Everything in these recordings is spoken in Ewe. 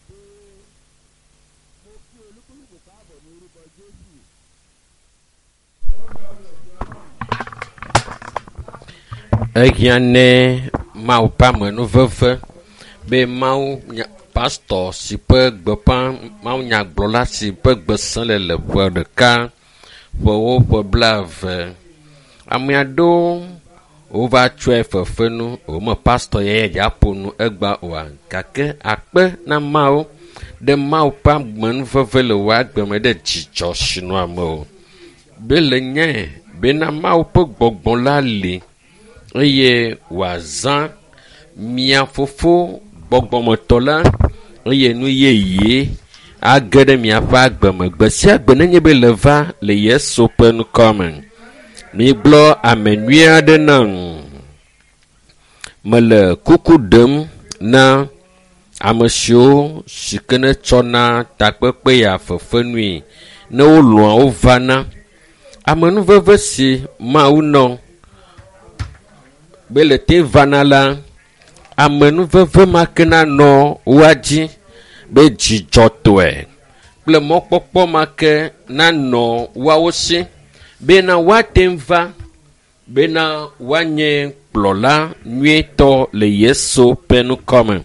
Mo kí olúkúlùkù káàbọ̀ ní orúkọ Jésù. Ehiã ne Mawu ƒe amenuveve be Mawu nya pastɔ si ƒe gbeƒã mawunyagblɔla si ƒe gbe sẽ le le ƒe ɖeka ƒewo ƒe blaeve. Ame aɖewo wova tsɔe fefenu wome pastɔ ya dza ƒo nu egba oa gake akpe na Mawu ɖe Mawu ƒe amenuveve le wò agbe me ɖe dzidzɔ si nɔa ame o. Be le nyae bena Mawu ƒe gbɔgbɔ la li eye wòazã mia fofo gbɔgbɔmetɔ la eye nu yeye age ɖe miaƒe agbe me gbe sia gbe nenye be le va le Yesu ƒe ŋkɔ me. Migblɔ ame nyui aɖe nam. Mele kuku ɖem na ame siwo si ke ne tsɔna takpekpe ya fefenui ne wolɔ̃a wovana. Amenuveve si Mawu nɔ be le te vana la, amenuveve ma ke nanɔ woa dzi be dzidzɔtɔe kple mɔkpɔkpɔ ma ke nanɔ woawo si bena woate ŋu va bena woanye kplɔla nyuietɔ le Yesu ƒe ŋkɔ me.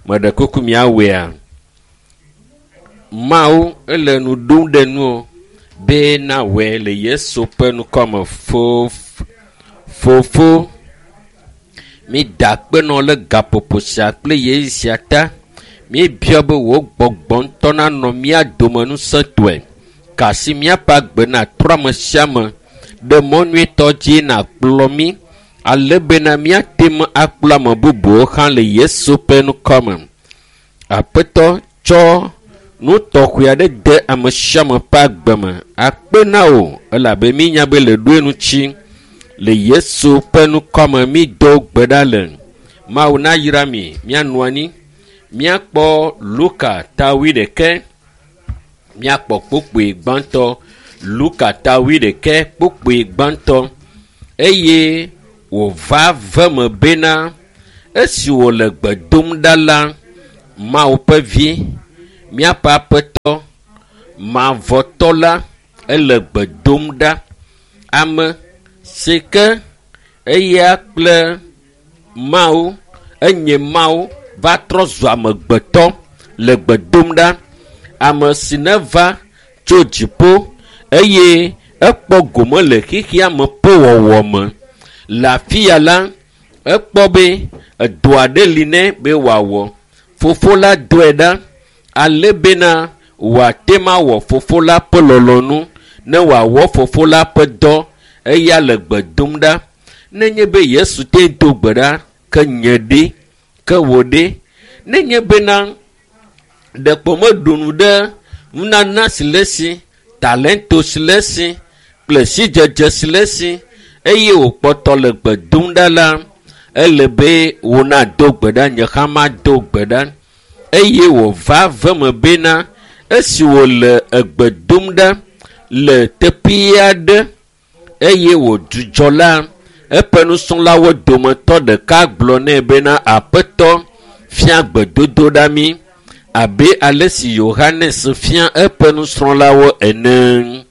Meɖe kuku miawɔea? Mawu ele nu ɖom ɖe nuwò be nawɔe le Yesu ƒe ŋkɔ me. Fof fofo mi da akpe nɔ le gaƒoƒo sia kple ɣeyiɣi sia ta. Míebiɔ be wò gbɔgbɔ ŋutɔ nanɔ mía dome ŋusẽtɔe. Kasi míaƒe agbe natrɔ ame sia ame ɖe mɔ nyuietɔ dzi nakplɔ mí ale bena míate ŋu akplɔ ame bubuwo hã le Yesu ƒe ŋkɔ me. Aƒetɔ tsɔ nu tɔxɛ aɖe de ame sia ame ƒe agbe me. Akpe na wò elabe mínya be le ɖoe ŋuti le Yesu ƒe ŋkɔ me mído gbe ɖa le. Mawu nayra mi míanɔ anyi. Míakpɔ Luka ta wuiɖekɛ. Míakpɔ kpukpui gbãtɔ. Luka ta wuiɖekɛ kpukpui gbãtɔ. Eye wòva ve me bena esi wòle gbe dom ɖa la, Mawu ƒe vi, míaƒe aƒetɔ, mavɔtɔ la, ele gbe dom ɖa. Ame si ke eya kple Mawu, enye Mawu va trɔ zu amegbetɔ le gbe dom ɖa. Ame si neva tso dziƒo eye ekpɔ gome le xexea me ƒe wɔwɔ me. Le afi ya la, ekpɔ be edɔ aɖe li nɛ be wòawɔ. Fofo la dɔe ɖa ale bena wòate ŋu awɔ fofo la ƒe lɔlɔ̃nu ne wòawɔ fofo la ƒe dɔ eya le gbe dom ɖa. Nenye be Yesu te do gbe ɖa ke nye ɖe, ke wò ɖe. Nenye bena ɖekpo meɖu nu ɖe nunana si le esi, talento si le esi kple sidzedze si le esi eye wòkpɔtɔ le gbe dom ɖa la, ele be wò nado gbe ɖa, nye hã mado gbe ɖa. Eye wòva ve me bena esi wòle egbe dom ɖa le teƒe aɖe eye wòdzudzɔ la, eƒe nusrɔ̃lawo dometɔ ɖeka gblɔ nɛ bena aƒetɔ fia gbedodoɖa mí abe ale si Yohanes fia eƒe nusrɔ̃lawo ene.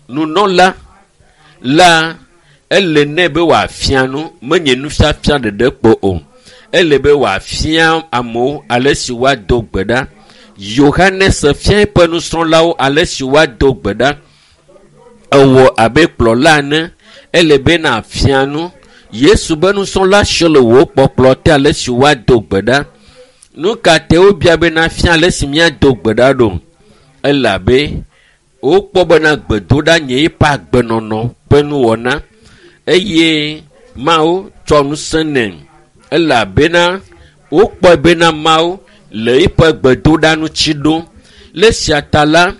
Nunɔla la ele nɛ be wòafia nu, menye nufiafia ɖeɖe kpo o. Ele be wòafia amewo ale si woado gbe ɖa. Yohanes fia eƒe nusrɔ̃lawo ale si woado gbe ɖa. Ewɔ abe kplɔla ene. Ele be nàfia nu. Yesu be nusrɔ̃la siwo le wò kpɔkplɔ te ale si woado gbe ɖa. Nu ka te wobia be nafia ale si míado gbe ɖa ɖo? Elabe wokpɔ bena gbedoɖa nye eƒe agbenɔnɔ ƒe nuwɔna eye Mawu tsɔ ŋusẽ nɛ elabena wokpɔe bena Mawu le eƒe gbedoɖa ŋuti ɖom. Le esia ta la,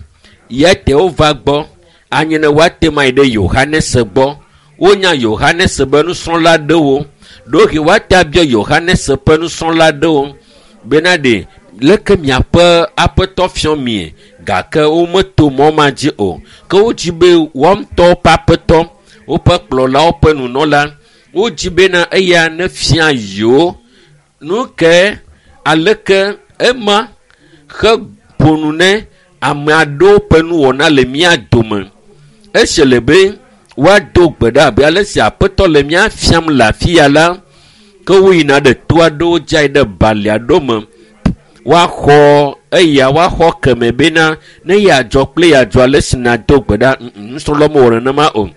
ya te wova gbɔ anye ne woate ŋu ayi ɖe Yohanes gbɔ. Wonya Yohanes be nusrɔ̃la aɖewo. Ɖewohĩ woate abiɔ Yohanes ƒe nusrɔ̃la aɖewo bena ɖe leke miaƒe aƒetɔ fiɔ mie gake wometo mɔ ma dzi o. Ke wodzi be woa ŋutɔwo ƒe aƒetɔ, woƒe kplɔlawo ƒe nunɔla, wodzi bena eya nefia yewo nu ke aleke ema Heƒo nu ne ame aɖewo ƒe nuwɔna le mía dome. Esi le be woado gbe ɖa abe ale si Aƒetɔ le mía fiam le afi ya la, ke woyina ɖe to aɖewo dzi ayi ɖe bali aɖewo me. Woaxɔ eya woaxɔ keme bena ne yeadzɔ kple yeadzɔ ale si nàdo gbe ɖa. Nusrɔ̃lawo mewɔ nenema o.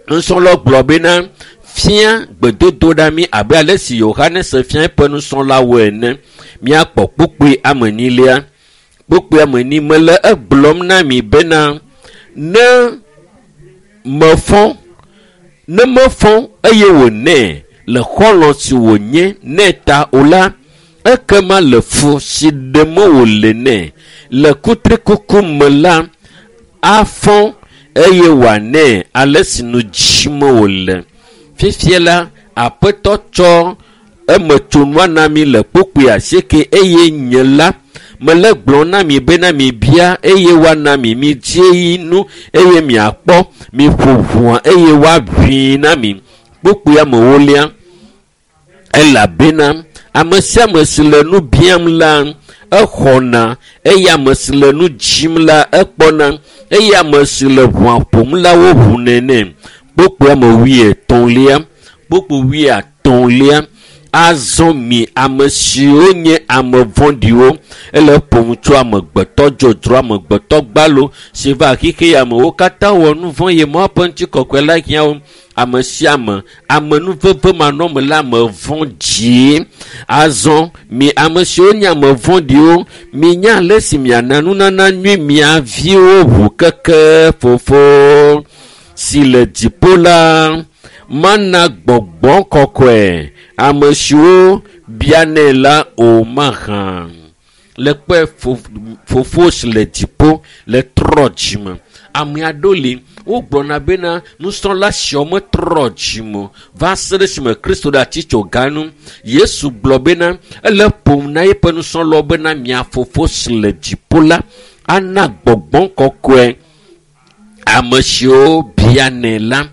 Nusrɔ̃lawo gblɔ bena fia gbedodo ɖa mí abe ale si Yohanes fia eƒe nusrɔ̃lawo ene. Míakpɔ kpukpui ame enyilia. Kpukpui ame enyi mele egblɔm na mi bena ne mefɔ ne mefɔ eye wònɛ le xɔlɔ̃ si wònye nɛ ta o la, ekema le fu si ɖem wòle nɛ le kutrikuku me la, afɔ eye wòanɛ ale si nu dzim wòle. Fifia la, Aƒetɔ tsɔ emetsonua na mi le kpukpui asieke eye nye la mele gblɔm na mi bena mibia eye woana mi, midie nu eye miakpɔ, miƒo ʋua eye woaʋui na mi. Kpukpui amewolia, elabena ame sia ame si le nu biam la, exɔna eye ame si le nu dzim la, ekpɔna eye ame si le ʋua ƒom la, woʋunɛ nɛ. Kpukpui ame wuietɔ̃lia, kpukpui wuiatɔ̃lia, azɔ mi ame siwo nye ame vɔ̃ɖiwo ele ƒom tso amegbetɔ dzodzro amegbetɔ gbalo si va xixe ya me wo katã wɔ nu vɔ̃ ye Mawu ƒe ŋutikɔkɔe la hiã wo. Ame sia ame amenuveve manɔme la ame vɔ̃ɖi. Azɔ mi ame siwo nye ame vɔ̃ɖiwo minya ale si miana nunana nyui mia viwo ʋu keke fofo si le dziƒo la mana gbɔgbɔ kɔkɔe ame siwo bianɛ la o mahã. Le kpe fofo si le dziƒo le trɔ dzime. Ame aɖewo li wogblɔna bena nusrɔ̃la siawo metrɔ dzime o va se ɖe esime Kristo ɖe atitsoga nu. Yesu gblɔ bena ele ƒom na eƒe nusrɔ̃lawo bena mia fofo si le dziƒo la ana gbɔgbɔ kɔkɔe ame siwo bianɛ la.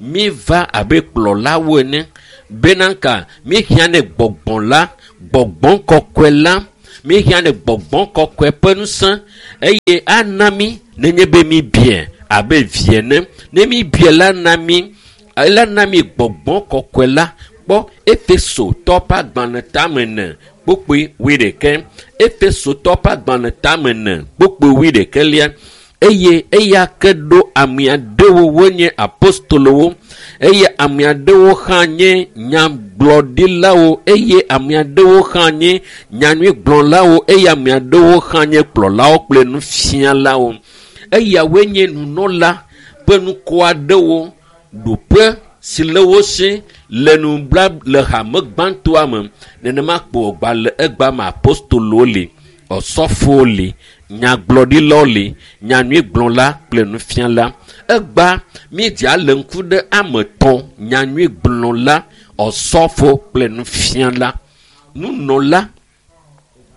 Míva abe kplɔlawo ene bena ka míehiã ne gbɔgbɔ la, gbɔgbɔ kɔkɔe la, míehiã ne gbɔgbɔ kɔkɔe ƒe ŋusẽ eye ana mí nenye be míbiɛ abe vi ene. Ne míbiɛ la na mí, ela na mí gbɔgbɔ kɔkɔe la. Kpɔ Efesotɔ ƒe agbalẽ tame ene kpukpui wuiɖekɛ. Efesotɔ ƒe agbalẽ tame ene kpukpui wuiɖekɛlia. Eye eya ke ɖo ame aɖewo wonye apostolowo eye ame aɖewo hã nye nyagblɔɖilawo eye ame aɖewo hã nye nyanyuigblɔlawo eye ame aɖewo hã nye kplɔlawo kple nufialawo. Eyawoe nye nunɔla ƒe nukɔ aɖewo ɖoƒe si le wo si le nubla le hame gbãtɔa me. Nenema kpo wògba le egbea me apostolowo li, ɔsɔfowo li, nyagblɔɖilawo li, nyanyuigblɔla kple nufiala. Egba míedzea le ŋku ɖe ame etɔ̃, nyanyuigblɔla, ɔsɔfo kple nufiala. Nunɔla,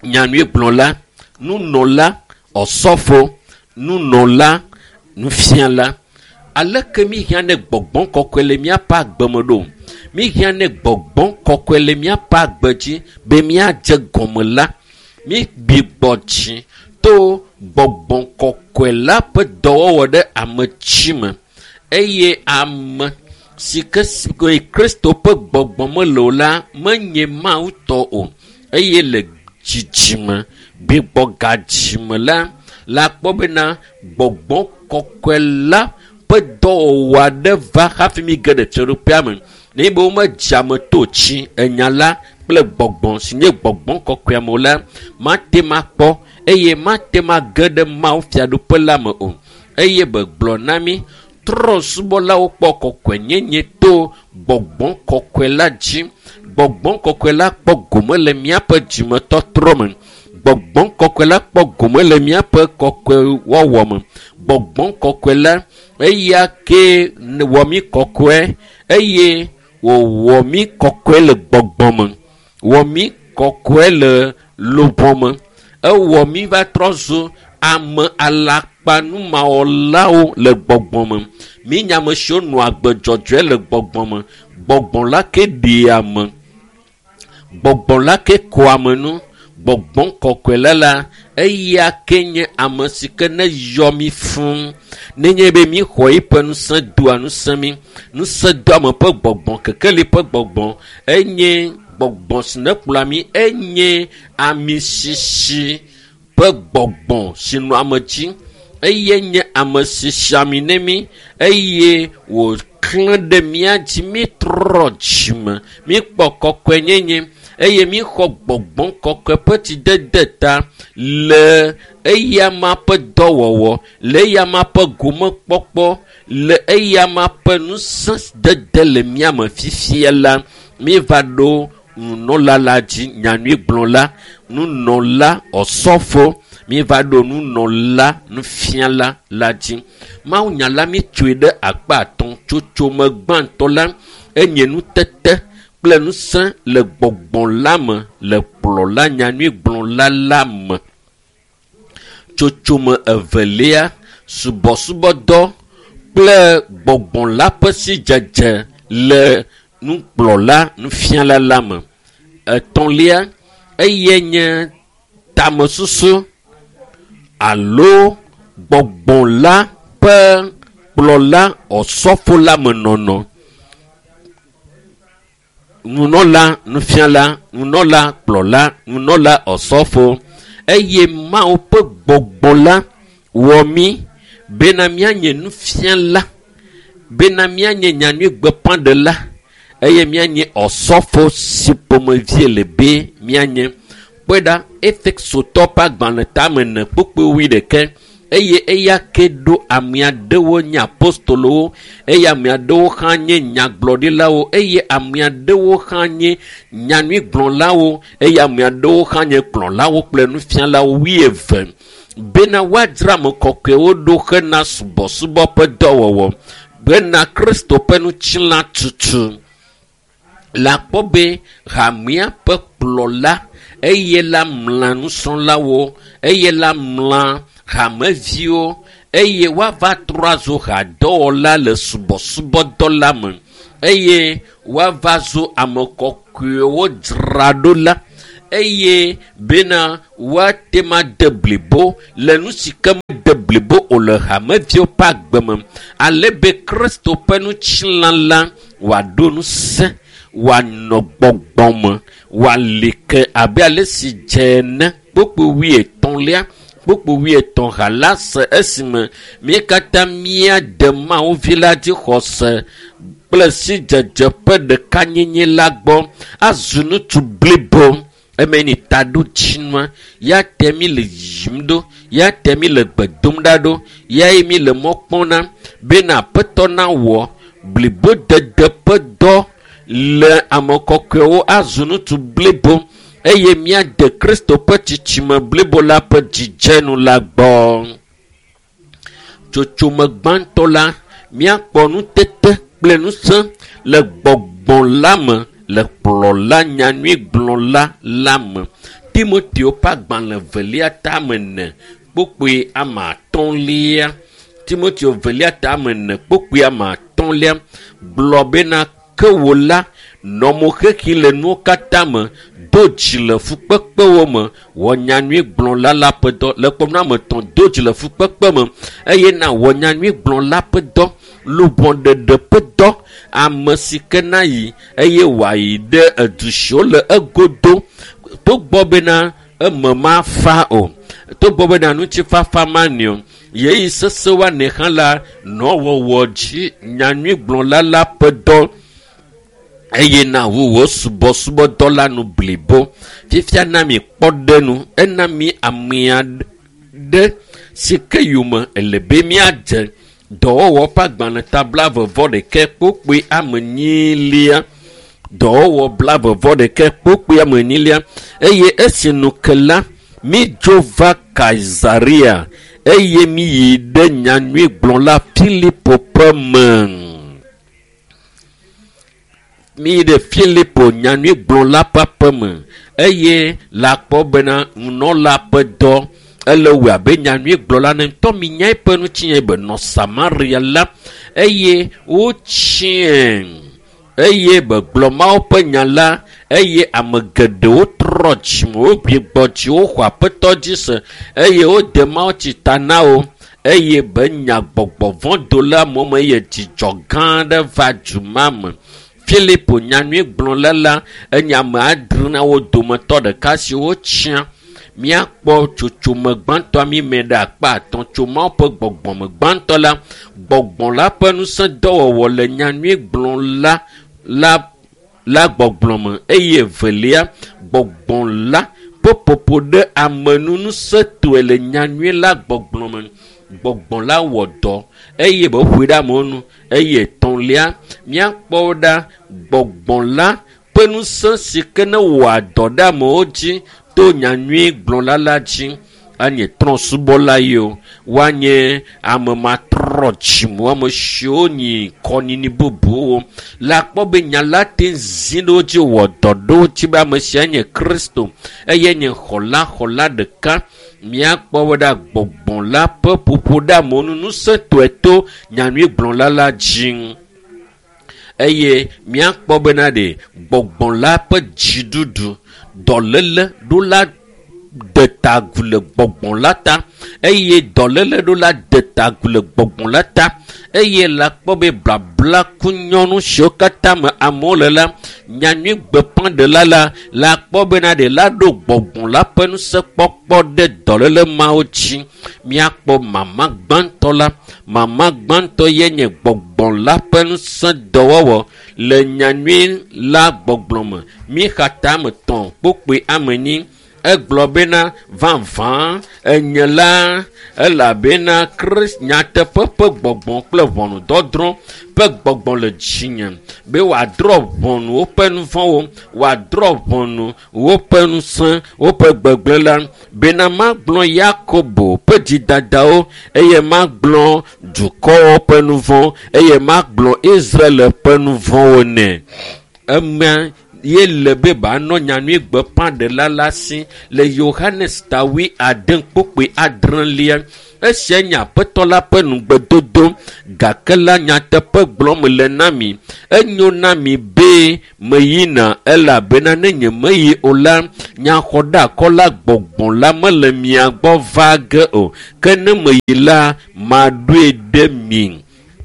nyanyuigblɔla, nunɔla, ɔsɔfo, nunɔla, nufiala. Aleke míhiã ne gbɔgbɔ kɔkɔe le míaƒe agbe me ɖo? Míhiã ne gbɔgbɔ kɔkɔe le míaƒe agbe dzi be míadze gɔme la, mígbi gbɔ dzi to gbɔgbɔ kɔkɔe la ƒe dɔwɔwɔ ɖe ame dzi me eye ame si ke Kristo ƒe gbɔgbɔ mele o la menye Mawu tɔ o eye le dzidzime gbigbɔ gadzime la la kpɔ bena gbɔgbɔ kɔkɔe la ƒe dɔwɔwɔ aɖe va hafi mi ge ɖe fiaɖuƒea me. Nenye be womedze ame to tsi enya la kple gbɔgbɔ si nye gbɔgbɔ kɔkɔea me o la, mate ma kpɔ eye mate ma ge ɖe Mawu fiaɖuƒe la me o. Eye begblɔ na mí trɔ̃subɔlawo kpɔ kɔkɔenyenye to gbɔgbɔ kɔkɔe la dzi. Gbɔgbɔ kɔkɔe la kpɔ gome le míaƒe dzimetɔtrɔ me. Gbɔgbɔ kɔkɔe la kpɔ gome le míaƒe kɔkɔewɔwɔ me. Gbɔgbɔ kɔkɔe la eya ke wɔ mí kɔkɔe eye wòwɔ mí kɔkɔe le gbɔgbɔ me. Wɔ mí kɔkɔe le luʋɔ me. Ewɔ mí va trɔ zu ame alakpanumawɔlawo le gbɔgbɔ me. Mí nye ame siwo nɔa agbe dzɔdzɔe le gbɔgbɔ me. Gbɔgbɔ la ke ɖea ame. Gbɔgbɔ la ke kɔa ame nu. Gbɔgbɔ kɔkɔe la la, eya ke nye ame si ke ne yɔ mi fũ. Nenye be mi xɔ eƒe ŋusẽ doa ŋusẽ mi. Ŋusẽ doame ƒe gbɔgbɔ, kekeli ƒe gbɔgbɔ, enye gbɔgbɔ si ne kplɔa mi, enye amisisi ƒe gbɔgbɔ si nɔ ame dzi. Eye nye ame si si ami ne mi eye wòklẽ ɖe mía dzi. Mítrɔ dzime, míkpɔ kɔkɔenyenye eye míxɔ gbɔgbɔ kɔkɔe ƒe tsidede ta le eyama ƒe dɔwɔwɔ, le eyama ƒe gomekpɔkpɔ, le eyama ƒe ŋusẽ dede le mía me fifia la, míva ɖo nunɔla la dzi, nyanyuigblɔla, nunɔla, ɔsɔfo, míva ɖo nunɔla, nufiala la dzi. Mawunya la mítsoe ɖe akpa atɔ̃. Tsotsome gbãtɔ la enye nutete kple ŋusẽ le gbɔgbɔ la me, le kplɔla nyanyuigblɔla la me. Tsotsome evelia, subɔsubɔdɔ kple gbɔgbɔ la ƒe sidzedze le nukplɔla nufiala la me. Etɔ̃lia, eye nye tamesusu alo gbɔgbɔ la ƒe kplɔla ɔsɔfo la me nɔnɔ. Nunɔla nufiala, nunɔla kplɔla, nunɔla ɔsɔfo eye Mawu ƒe gbɔgbɔ la wɔ mí bena míanye nufiala, bena míanye nyanyuigbeƒãɖela eye míanye ɔsɔfo si ƒomevie le be míanye. Kpɔe ɖa, Efesotɔ ƒe agbalẽ tame ene kpukpui wuiɖekɛ eye eya ke ɖo ame aɖewo nye apostolowo eye ame aɖewo hã nye nyagblɔɖilawo eye ame aɖewo hã nye nyanyuigblɔlawo eye ame aɖewo hã nye kplɔlawo kple nufialawo wuieve bena woadzra ame kɔkɔewo ɖo hena subɔsubɔ ƒe dɔwɔwɔ bena Kristo ƒe ŋutilã tutu. Le akpɔ be hamea ƒe kplɔla eye la mla nusrɔ̃lawo eye la mla hameviwo eye woava trɔ azu hadɔwɔla le subɔsubɔdɔ la me eye woava zu ame kɔkɔewo dzraɖola eye bena woate ma de blibo le nu si ke mede blibo o le hameviwo ƒe agbe me ale be Kristo ƒe ŋutilã la wòaɖo ŋusẽ, wòanɔ gbɔgbɔ me, wòali ke abe ale si dze ene. Kpukpui wuietɔ̃lia, kpukpui wuietɔ̃ ha la se esime mí katã míade Mawu vi la dzi xɔse kple sidzedze ƒe ɖekanyenye la gbɔ azu ŋutsu blibo. Eme ni taɖodzinua ya te mi le yiyim ɖo, ya te mi le gbe dom ɖa ɖo, yae mi le mɔ kpɔm na bena Aƒetɔ nawɔ blibodede ƒe dɔ le ame kɔkɔewo azu ŋutsu blibo eye míade Kristo ƒe tsitsime blibo la ƒe dzidzenu la gbɔ. Tsotsome gbãtɔ la, míakpɔ nutete kple ŋusẽ le gbɔgbɔ la me le kplɔla nyanyuigblɔla la me. Timoteo ƒe agbalẽ velia tame ene kpukpui ame atɔ̃lia. Timoteo velia tame ene kpukpui ame atɔ̃lia gblɔ bena ke wò la nɔ mo xexi le nuwo katã me, do dzi le fukpekpewo me, wɔ nyanyuigblɔla la ƒe dɔ. Le kpɔm na ame etɔ̃, do dzi le fukpekpe me eye na wɔ nyanyuigblɔla ƒe dɔ, luʋɔɖeɖe ƒe dɔ, ame si ke na yi eye wòayi ɖe edu siwo le egodo togbɔ bena eme mafa o, togbɔ bena ŋutifafa mani o, yeyi sese woanɛ hã la nɔ wɔwɔ dzi nyanyuigblɔla la ƒe dɔ eye na wu wò subɔsubɔdɔ la nu blibo. Fifia na mi kpɔ ɖe nu, ena mi amea ɖe si ke yome ele be míadze. Dɔwɔwɔ ƒe agbalẽ ta blaeve-vɔ-ɖekɛ kpukpui ame enyilia. Dɔwɔwɔ blaeve-vɔ-ɖekɛ kpukpui ame enyilia. Eye esi nu ke la, mídzo va Kaisarea eye míyi ɖe nyanyuigblɔla Filipo ƒe me. Míyi ɖe Filipo nyanyuigblɔla ƒe aƒeme eye le akpɔ bena nunɔla ƒe dɔ ele wɔ abe nyanyuigblɔla ne ŋutɔ minya eƒe ŋutinye be nɔ Samaria la eye wotsiẽ eye be gblɔ Mawu ƒe nya la. Eye ame geɖewo trɔ dzime, wogbugbɔ dzi, woxɔ Aƒetɔ dzi se eye wode mawutsi ta na wo eye be nya gbɔgbɔ vɔ̃ do le amewo me eye dzidzɔ gã aɖe va du ma me. Filipo nyanyuigblɔla la enye ame adre na wo dometɔ ɖeka si wotsia. Míakpɔ tsotsome gbãtɔa mi me ɖe akpa atɔ̃ tso Mawu ƒe gbɔgbɔme gbãtɔ la. Gbɔgbɔ la ƒe ŋusẽ dɔwɔwɔ le nyanyuigblɔla la la gbɔgblɔ me eye evelia gbɔgbɔ la ƒe ƒoƒo ɖe ame nu ŋusẽtɔe le nyanyui la gbɔgblɔ me. Gbɔgbɔ la wɔ dɔ eye be ƒoe ɖe amewo nu eye etɔ̃lia míakpɔ ɖa gbɔgbɔ la ƒe ŋusẽ si ke ne wɔa dɔ ɖe amewo dzi to nyanyui gblɔla la dzi. Anye trɔ̃subɔla yi o, woanye ame matrɔ dzime, ame siwo nyi kɔnyinyi bubuwo. Le akpɔ be nya la te zi ɖe wo dzi wɔ dɔ ɖe wo dzi be ame sia nye Kristo eye nye xɔla xɔla ɖeka. Míakpɔ be ɖa gbɔgbɔ la ƒe ƒoƒo ɖe amewo nu ŋusẽtɔe to nyanyuigblɔla la dzi. Eye míakpɔ bena ɖe gbɔgbɔ la ƒe dziɖuɖu dɔléle ɖo la de ta agu le gbɔgbɔ la ta eye dɔléle ɖo la de ta agu le gbɔgbɔ la ta eye la kpɔ be blabla ku nyɔnu siwo katã me amewo le la nyanyui gbeƒãɖela la la kpɔ bena ɖe la ɖo gbɔgbɔ la ƒe ŋusẽkpɔkpɔ ɖe dɔléle mawo dzi. Míakpɔ mama gbãtɔ la. Mama gbãtɔ ye nye gbɔgbɔ la ƒe ŋusẽ dɔwɔwɔ le nyanyui la gbɔgblɔ me. Míxa ta ame tɔ̃ kpokpoe ame enyi. Egblɔ bena vavã enye la elabena Krist nyateƒe ƒe gbɔgbɔ kple ʋɔnudɔdrɔ̃ ƒe gbɔgbɔ le dzinye be wòadrɔ̃ ʋɔnu woƒe nu vɔ̃wo, wòadrɔ̃ ʋɔnu woƒe ŋusẽ, woƒe gbegblẽ la bena magblɔ Yakobo ƒe dzidadawo eye magblɔ dukɔwo ƒe nu vɔ̃ eye magblɔ Israel ƒe nu vɔ̃wo nɛ. Emea ye le be banɔ nyanyui gbeƒãɖela la si le Yohanes ta wui ade kpokpoe adrelia. Esia nye Aƒetɔ la ƒe nugbedodo gake la nyateƒe gblɔm le na mi. Enyo na mi be meyina elabena ne nyemeyi o la, nyaxɔɖeakɔla gbɔgbɔ la mele mia gbɔ va ge o. Ke ne meyi la, maɖoe ɖe mi.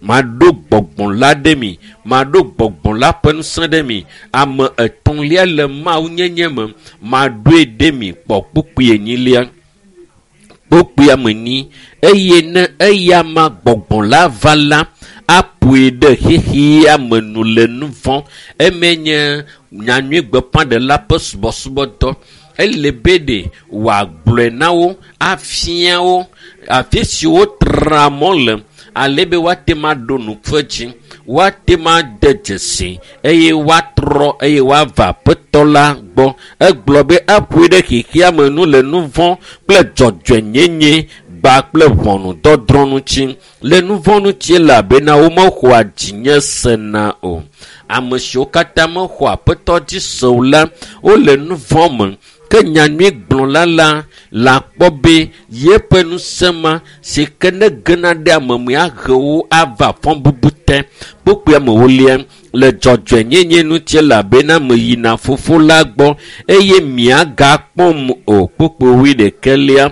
Maɖo gbɔgbɔ la ɖe mi. Maɖo gbɔgbɔ la ƒe ŋusẽ ɖe mi. Ame etɔ̃lia le Mawu nyenye me. Maɖoe ɖe mi kpɔ kpukpui enyilia. Kpukpui ame enyi. Eye ne eya ma gbɔgbɔ la va la, aƒoe ɖe xexea me nu le nu vɔ̃. Eme nye nyanyui gbeƒãɖela ƒe subɔsubɔdɔ. Ele be ɖe wòagblɔe na wo, afia wo afi si wotra mɔ le ale be woate ŋu aɖo nuƒe dzi, woate ŋu ade dzesi eye woatrɔ eye woava Aƒetɔ la gbɔ. Egblɔ be aƒoe ɖe xexea me nu le nu vɔ̃ kple dzɔdzɔenyenye gba kple ʋɔnudɔdrɔ̃ ŋuti. Le nu vɔ̃ ŋuti elabena womexɔa dzinye sena o. Ame siwo katã mexɔ Aƒetɔ dzi se o la, wole nu vɔ̃ me. Ke nyanyuigblɔla la la kpɔ be yeƒe ŋusẽ ma si ke ne gena ɖe ame me ahe wo ava fɔbubu te. Kpukpui amewolia le dzɔdzɔenyenye ŋuti elabena meyina fofo la gbɔ eye miagakpɔm o. Kpukpui wuiɖekɛlia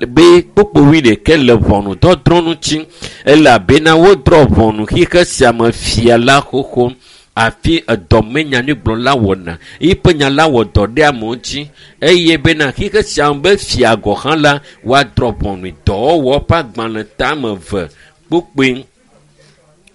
be kpukpui wuiɖekɛ le ʋɔnudɔdrɔ̃ ŋuti elabena wodrɔ̃ ʋɔnu xixe sia me fia la xoxo. Afi edɔme nyanyuigblɔla wɔna yiƒe nya la wɔ dɔ ɖe amewo dzi eye bena xixe sia be fia gɔ̃ hã la woadrɔ̃ ʋɔnui. Dɔwɔwɔ ƒe agbalẽ tame eve kpukpui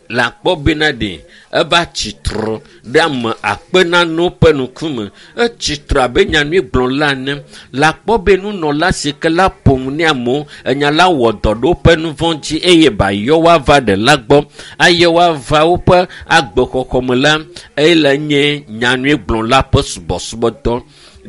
le akpɔ bena ɖe eva tsitre ɖe ame akpe nanewo ƒe ŋkume. Etsitre abe nyanyuigblɔla ene. Le akpɔ be nunɔla si ke la ƒo nu ne amewo, enya la wɔ dɔ ɖe woƒe nu vɔ̃ dzi eye bayɔ woava ɖela gbɔ eye woava woƒe agbexɔxɔ me la, ele nye nyanyuigblɔla ƒe subɔsubɔdɔ.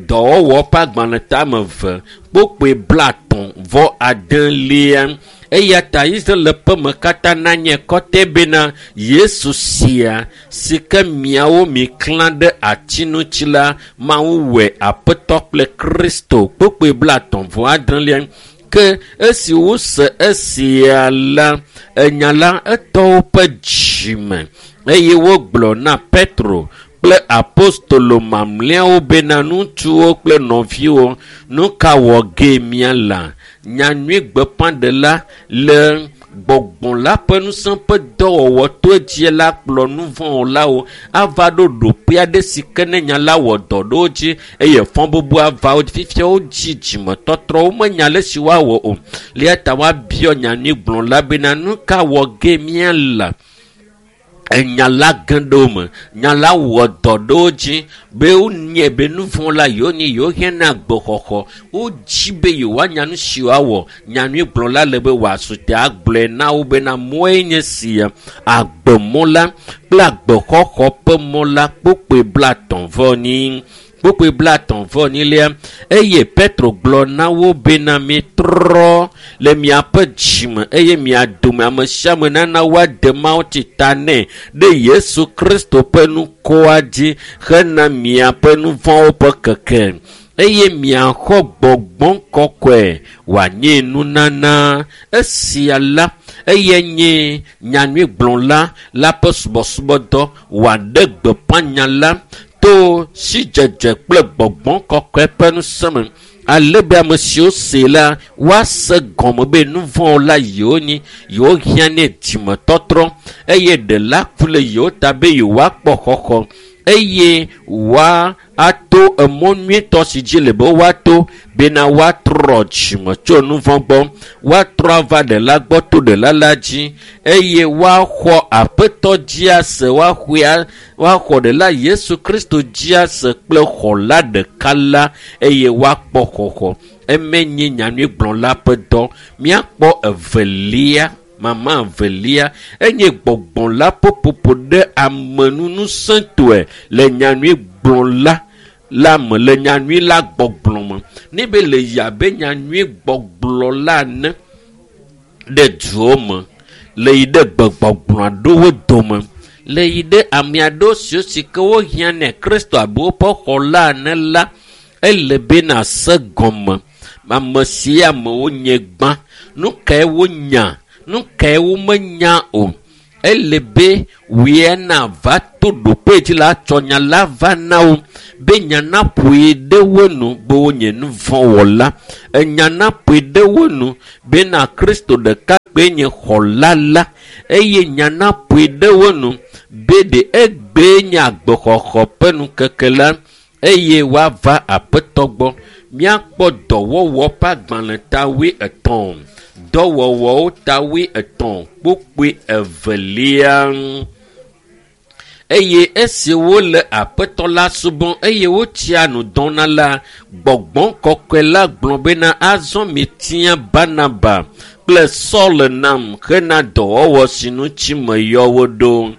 Dɔwɔwɔ ƒe agbalẽ tame eve kpukpui blatɔ̃ vɔ adelia. Eya ta Israel ƒe me katã nanye kɔtɛ bena Yesu sia si ke miawo miklã ɖe ati ŋuti la, Mawu wɔe Aƒetɔ kple Kristo. Kpukpui blatɔ̃ vɔ adrelia. Ke esi wose esia la, enya la etɔ woƒe dzime eye wogblɔ na Petro kple apostolo mamlɛawo bena ŋutsuwo kple nɔviwo nu ka wɔ ge míala nyanyui gbeƒãɖela le gbɔgbɔ la ƒe ŋusẽ ƒe dɔwɔwɔ to edzi la kplɔ nu vɔ̃wɔlawo ava ɖo ɖoƒe aɖe si ke ne nya la wɔ dɔ ɖe wo dzi eye fɔ bubu ava wo dzi fifia wodzi dzimetɔtrɔ womenya le si woawɔ o lia ta woabiɔ nyanyui gblɔ la bena nu ka wɔ ge míala enya la ge ɖe wo me nya la wɔ dɔ ɖe wo dzi be wonye be nu vɔ̃ la yewo nye yewo hiã na agbexɔxɔ wodzi be yewoanya nu si woawɔ nyanyui gblɔ la le be wòasu te agblɔe na wo bena mɔe nye sia agbemɔ la kple agbexɔxɔ ƒe mɔ la kpokpoe blatɔ̃ vɔ nyi kpokpoe blatɔ̃ vɔ nyilia eye petro gblɔ na wo bena mitrɔ le miaƒe dzime eye mia dome ame sia ame nana woade mawu tsi ta nɛ ɖe yesu kristo ƒe nukɔa dzi hena miaƒe nu vɔ̃wo ƒe keke eye miaxɔ gbɔgbɔ kɔkɔe wòanye nunana esia la eye nye nyanyui gblɔla la ƒe subɔsubɔdɔ wòaɖe gbeƒã nya la to sidzedze kple gbɔgbɔ kɔkɔe ƒe ŋusẽ me ale be ame siwo se la woase gɔme be nu vɔ̃wo la yewo nyi yewo hiã nɛ dzimetɔtrɔ eye ɖela ku le yewo ta be yewoakpɔ xɔxɔ eye woa ato emɔ nyuitɔ si dzi le be woato bena woatrɔ dzime tso nu vɔ̃ gbɔ woatrɔ ava ɖela gbɔ to ɖela la dzi eye woaxɔ aƒetɔ dzi ase woaxɔe woaxɔ ɖela yesu kristo dzi ase kple xɔla ɖeka la eye woakpɔ xɔxɔ eme nye nyanyui gblɔla ƒe dɔ míakpɔ evelia mama evelia enye gbɔgbɔ la ƒoƒoƒo ɖe amenunusẽtɔe le nyanyui gblɔla la me le nyanyui la gbɔgblɔ me ne be le yi abe nyanyui gbɔgblɔ la ene ɖe duwo me le yi ɖe gbegbɔgblɔ aɖewo dome le yi ɖe ame aɖewo siwo si ke wohiã nɛ kristo abe woƒe xɔla ene la ele be nase gɔme ame sia amewo nye gbã nu kae wonya nu kae womenya o ele be wòe nava to ɖoƒe dzi la tsɔ nya la va na wo be nya naƒoe ɖe wo nu be wonye nu vɔ̃ wɔla enya naƒoe ɖe wo nu bena kristo ɖeka kpe nye xɔla la eye nya naƒoe ɖe wo nu be ɖe egbee nye agbexɔxɔ ƒe nukeke la eye woava aƒetɔ gbɔ míakpɔ dɔwɔwɔ ƒe agbalẽ ta wuietɔ̃ dɔwɔwɔwo ta wuietɔ̃ kpokpoe evelia eye esi wole aƒetɔ la subɔm eye wotsia nu dɔna la gbɔgbɔ kɔkɔe la gblɔ bena azɔ mitia barnaba kple saul nam hena dɔwɔwɔ si ŋuti meyɔ wo ɖo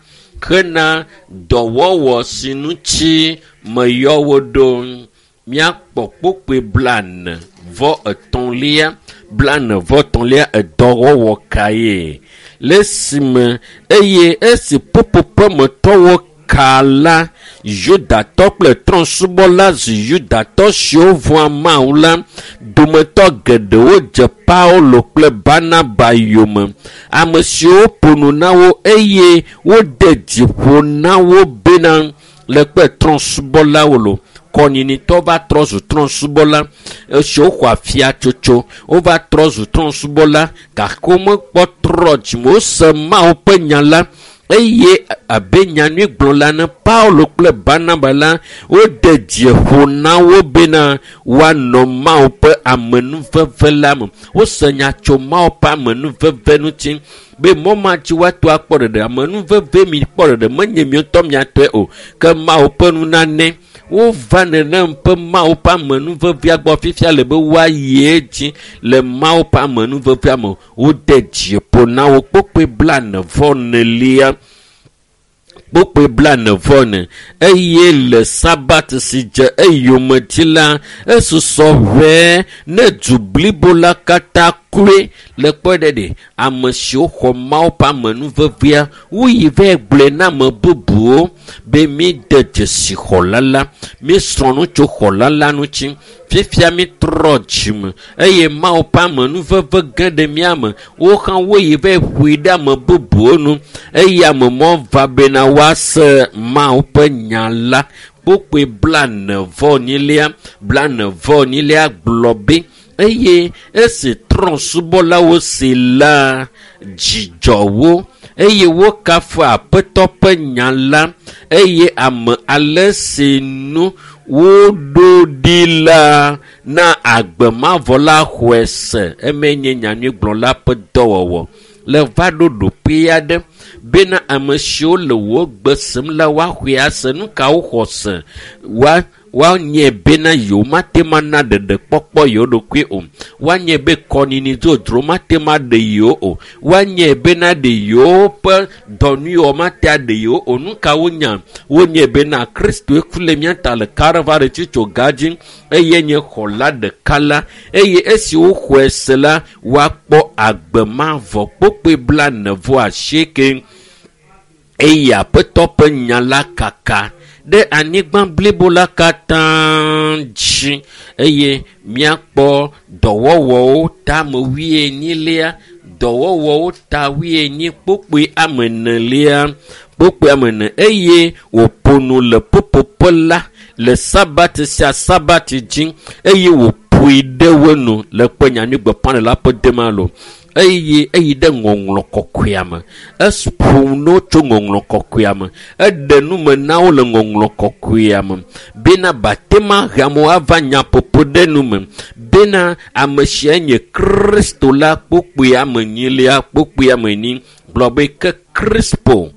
hena dɔwɔwɔ si ŋuti meyɔ wo ɖo míakpɔ kpokpoe blane vɔ etɔ̃lia blane vɔ etɔ̃lia edɔwɔwɔ kae le esime eye esi ƒuƒoƒemetɔwo ka la yudatɔ kple trɔ̃subɔla zu yudatɔ siwo vɔ̃a mawu la dometɔ geɖewo dze paulo kple barnaba yome ame siwo ƒo nu na wo eye wode dzi ƒo na wo bena le kpe trɔ̃subɔlawo lo kɔnyinitɔ va trɔ zu trɔ̃subɔla esiwo xɔ afiatsotso wova trɔ zu trɔ̃subɔla gake womekpɔ trɔ dzime wose mawu ƒe nya la eye abe nyanyui gblɔla ne paulo kple barnaba la wode dzi ƒo na wo bena woanɔ mawu ƒe amenuveve la me wose nya tso mawu ƒe amenuveve ŋuti be mɔ ma dzi woato akpɔ ɖeɖe amenuveve mi kpɔ ɖeɖe menye mi ŋutɔ miatɔe o ke mawu ƒe nunane wova nenem ƒe mawu ƒe amenuvevea gbɔ fifia le be woayi edzi le mawu ƒe amenuvevea me wode dzi ƒo na wo kpokpoe blane vɔ nelia kpokpoe blane vɔ ne eye le sabat si dze eyome dzi la esusɔ ʋɛe ne du blibo la katã Kloe le kpɔe ɖe ɖe ame siwo xɔ Mawu ƒe amenuvevea woyi va gblɔe na ame bubuwo be míde dzesi xɔla la, míesrɔ̃ nu tso xɔla la ŋuti. Fifia mítrɔ dzime eye Mawu ƒe amenuveve ge ɖe mía me. Wo hã woyi va ƒoe ɖe ame bubuwo nu eye ame mɔ va bena woase Mawu ƒe nya la. Kpokpoe 49 44 gblɔ be eye esi trɔ̃subɔlawo si la dzidzɔ wo eye wokafu Aƒetɔ ƒe nya la eye ame ale si nu woɖo ɖi la na agbe mavɔ la xɔe se. Eme nye nyanyuigblɔla ƒe dɔwɔwɔ le va ɖo ɖoƒe aɖe bena ame siwo le wò gbe sem la woaxɔe ase. Nu ka woxɔ se? Woanye bena yewo mate ŋu ana ɖeɖekpɔkpɔ yewo ɖokui o. Woanye be kɔnini dzodzro mate ŋu aɖe yewo o. Woanye bena ɖe yewoƒe dɔnuyɔwɔ mate aɖe yewo o. Nu ka wonya? Wonye bena Kristoe ku le mía ta le Kalvari tsitsoga dzi eye nye xɔla ɖeka la eye esi woxɔe se la woakpɔ agbe mavɔ. Kpokpoe 48 eye Aƒetɔ ƒe nya la kaka ɖe anyigba blibo la katã dzi eye míakpɔ dɔwɔwɔwo ta 40 dɔwɔwɔwo ta 40 kpokpoe 4 kpokpoe 4 eye wòƒo nu le ƒuƒoƒe la le Sabati sia Sabati dzi eye wòƒoe ɖe wo nu le kpe nyanyuigbeƒãɖela ƒe dema lo eye eyi ɖe ŋɔŋlɔ kɔkɔea me. Eƒo nu tso ŋɔŋlɔ kɔkɔea me. Eɖe nu me na wo le ŋɔŋlɔ kɔkɔea me bena batema he amewo ava nyaƒoƒo ɖe nu me bena ame sia nye Kristo la kpokpoe 4 kpokpoe 4 gblɔ be ke Krispo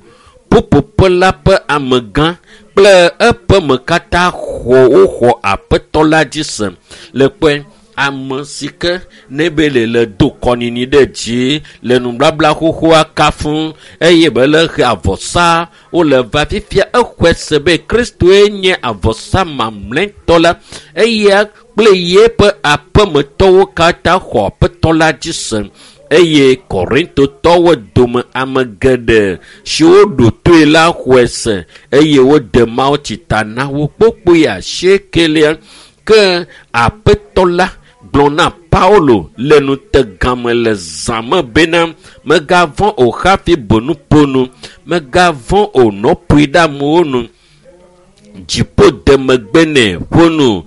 ƒuƒoƒe la ƒe amegã kple eƒe me katã xɔ woxɔ Aƒetɔ la dzi se. Le kpɔe ame si ke ne be le do kɔnini ɖe dzi le nubabla xoxoa kafu eye be le he avɔsa wole va fifia exɔe se be Kristoe nye avɔsa mamlɛtɔ la eya kple yeƒe aƒemetɔwo katã xɔ Aƒetɔ la dzi se. Eye Korintotɔwo dome ame geɖe siwo ɖo toe la xɔe se eye wode mawutsi ta na wo kpokpoe 8. Ke Aƒetɔ la gblɔ na Paulo le nutegame le zã me bena megavɔ̃ o hafi bo nuƒo nu, megavɔ̃ o nɔƒoe ɖe amewo nu. Dziƒo de megbe nɛ ƒo nu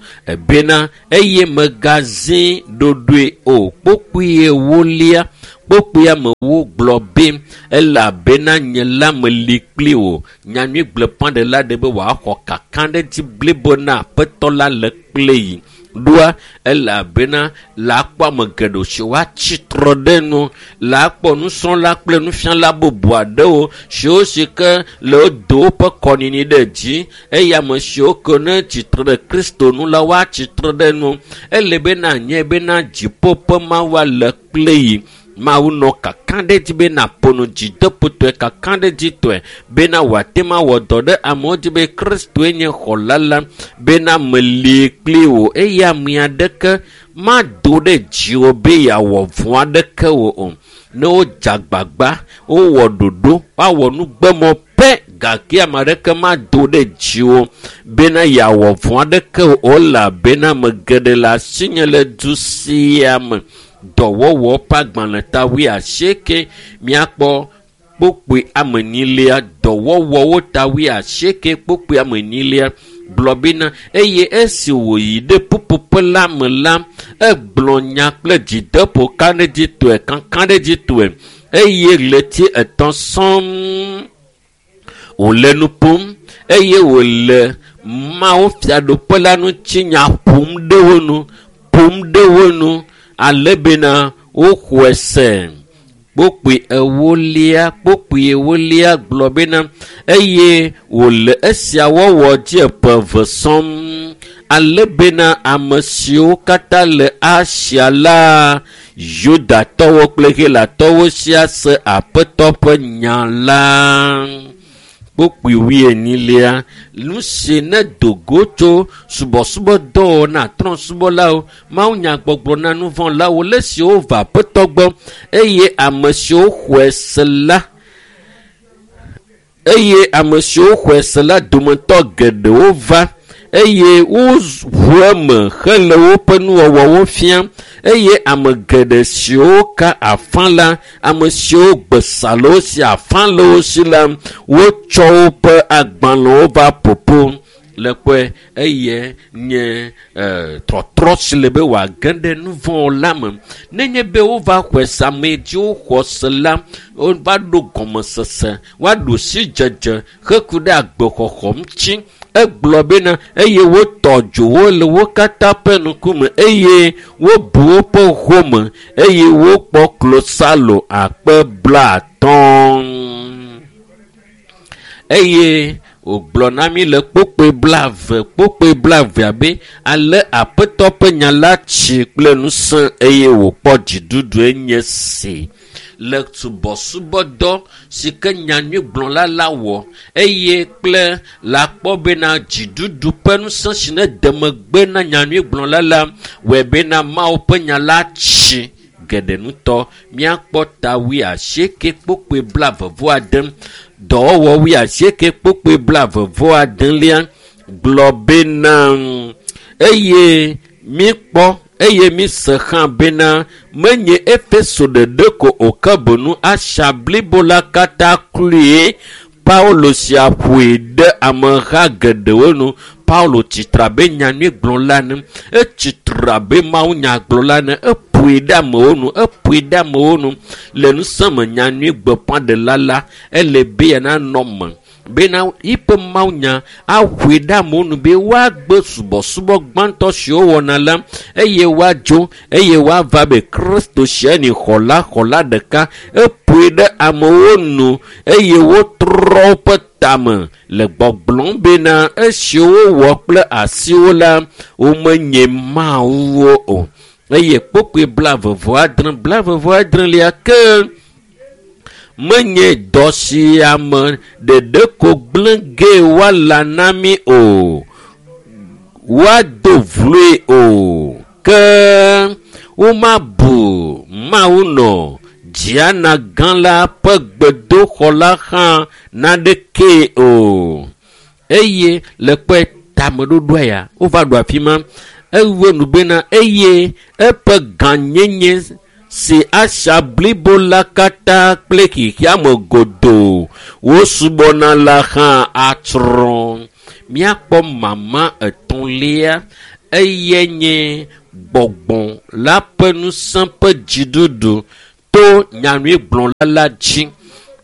bena eye megazi ɖoɖoe o. Kpokpoe 4 kpokpoe amewo gblɔ be elabena nye la meli kpli wò. Nyanyuigblɔƒãɖela ɖe be wòaxɔ kakaɖedzi blibo na Aƒetɔ la le kple yi. Ɖoa elabena la akpɔ ame geɖewo si woatsi trɔ ɖe nu, la akpɔ nusrɔ̃la kple nufiala bubu aɖewo siwo si ke le wodo woƒe kɔnini ɖe dzi eye ame siwo ke ne tsitre ɖe Kristo nu la woatsi tre ɖe nu. Ele bena nye bena dziƒo ƒe Mawu le kple yi. Mawu nɔ kakaɖedzi bena ƒo nu dzideƒotɔe kakaɖedzitɔe bena wòate ŋu awɔ dɔ ɖe amewo dzi be Kristoe nye xɔla la bena meli kpli wò eye ame aɖeke mado ɖe dziwò be yeawɔ vɔ̃ aɖeke wò o. Ne wodze agbagba, wowɔ ɖoɖo, woawɔ nugbemɔ pɛ gake ame aɖeke mado ɖe dziwò bena yeawɔ vɔ̃ aɖeke wò o elabena ame geɖe le asinye le du sia me. Dɔwɔwɔ ƒe agbalẽ ta 80 míakpɔ kpokpoe 4 dɔwɔwɔwo ta 80 kpokpoe 4 gblɔ bena eye esi wòyi ɖe ƒuƒoƒe la me la egblɔ nya kple dzideƒo kaɖedzitɔe kakaɖedzitɔe eye ɣleti 3 sɔŋ wòle nu ƒom eye wòle Mawu fiaɖuƒe la ŋuti nya ƒom ɖe wo nu ale bena woxɔe se. Kpokpoe 4 gblɔ bena eye wòle esia wɔwɔ dzi ƒe 2 sɔŋ ale bena ame siwo katã le Asia la Yudatɔwo kple Helatɔwo sia se Aƒetɔ ƒe nya la. Kpokpui wuienyilia, nu si ne do go tso subɔsubɔdɔwɔwɔ na trɔ̃subɔlawo, mawunyagbɔgblɔ na nuvɔ̃lawo le esiwo va Aƒetɔ gbɔ eye ame siwo xɔe se la eye ame siwo xɔe se la dometɔ geɖewo va eye woʋu eme hele woƒe nuwɔwɔwo fiam eye ame geɖe siwo ka afã la, ame siwo gbe sa le wo si, afã le wo si la, wotsɔ woƒe agbalẽwo va ƒoƒo le kpɔe eye nye trɔtrɔ si le be wòage ɖe nu vɔ̃ la me. Nenye be wova xɔe se, ame siwo xɔ se la, wova ɖo gɔmesese, woaɖo sidzedze heku ɖe agbexɔxɔ ŋuti. Egblɔ bena eye wotɔ dzo wo le wo katã ƒe ŋkume eye wobu woƒe home eye wokpɔ klosalo akpe 50. Eye wògblɔ na mí le kpokpoe 20 abe ale Aƒetɔ ƒe nya la tsi kple ŋusẽ eye wòkpɔ dziɖuɖu enye si le subɔsubɔdɔ si ke nyanyuigblɔla la wɔ eye kple la kpɔ bena dziɖuɖu ƒe ŋusẽ si ne de megbe na nyanyuigblɔla la wɔe bena Mawu ƒe nya la tsi geɖe ŋutɔ. Míakpɔ ta 80 kpokpoe 29, dɔwɔwɔ 80 kpokpoe 29 gblɔ bena eye míkpɔ eye míse hã bena menye Efeso ɖeɖe ko o ke boŋ Asia blibo la katã kloe. Paulo sia ƒoe ɖe ameha geɖewo nu. Paulo tsitre abe nyanyuigblɔla ene, etsitre abe mawunyagblɔla ene, eƒoe ɖe amewo nu, eƒoe ɖe amewo nu le ŋusẽ me. Nyanyuigbeƒãɖela la ele be yananɔ me bena yiƒe mawunya aƒoe ɖe amewo nu be woagbe subɔsubɔ gbãtɔ siwo wɔna la eye woadzo eye woava be Kristo sia ni xɔla ɖeka. Eƒoe ɖe amewo nu eye wotrɔ woƒe tame le gbɔgblɔm bena esiwo wowɔ kple asiwo la womenye mawuwo o. Eye kpokpoe 29 ke menye dɔ sia me ɖeɖe ko gblẽ ge woala na mí o, woado vloe o, ke womabu Mawu nɔ Diana gã la ƒe gbedoxɔ la hã naɖekee o. Eye le kpɔe tameɖoɖoa ya wova ɖo afi ma. Ewu nu bena eye eƒe gãnyenye si Asia blibo la katã kple xexeame godoo wosubɔna la hã atsrɔ̃. Míakpɔ mama etɔ̃lia eye nye gbɔgbɔ la ƒe ŋusẽ ƒe dziɖuɖu to nyanyuigblɔla la dzi.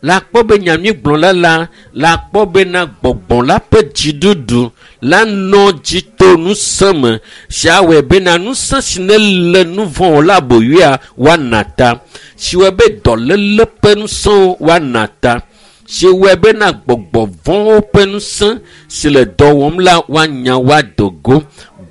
La kpɔ be nyanyuigblɔla la la kpɔ bena gbɔgbɔ la ƒe dziɖuɖu la nɔ dzi to ŋusẽ me sia wɔe bena ŋusẽ si ne le nu vɔ̃ la aboyoea woana ta, si wɔe be dɔléle ƒe ŋusẽwo woana ta, si wɔe bena gbɔgbɔ vɔ̃wo ƒe ŋusẽ si le dɔ wɔm la woanya woado go.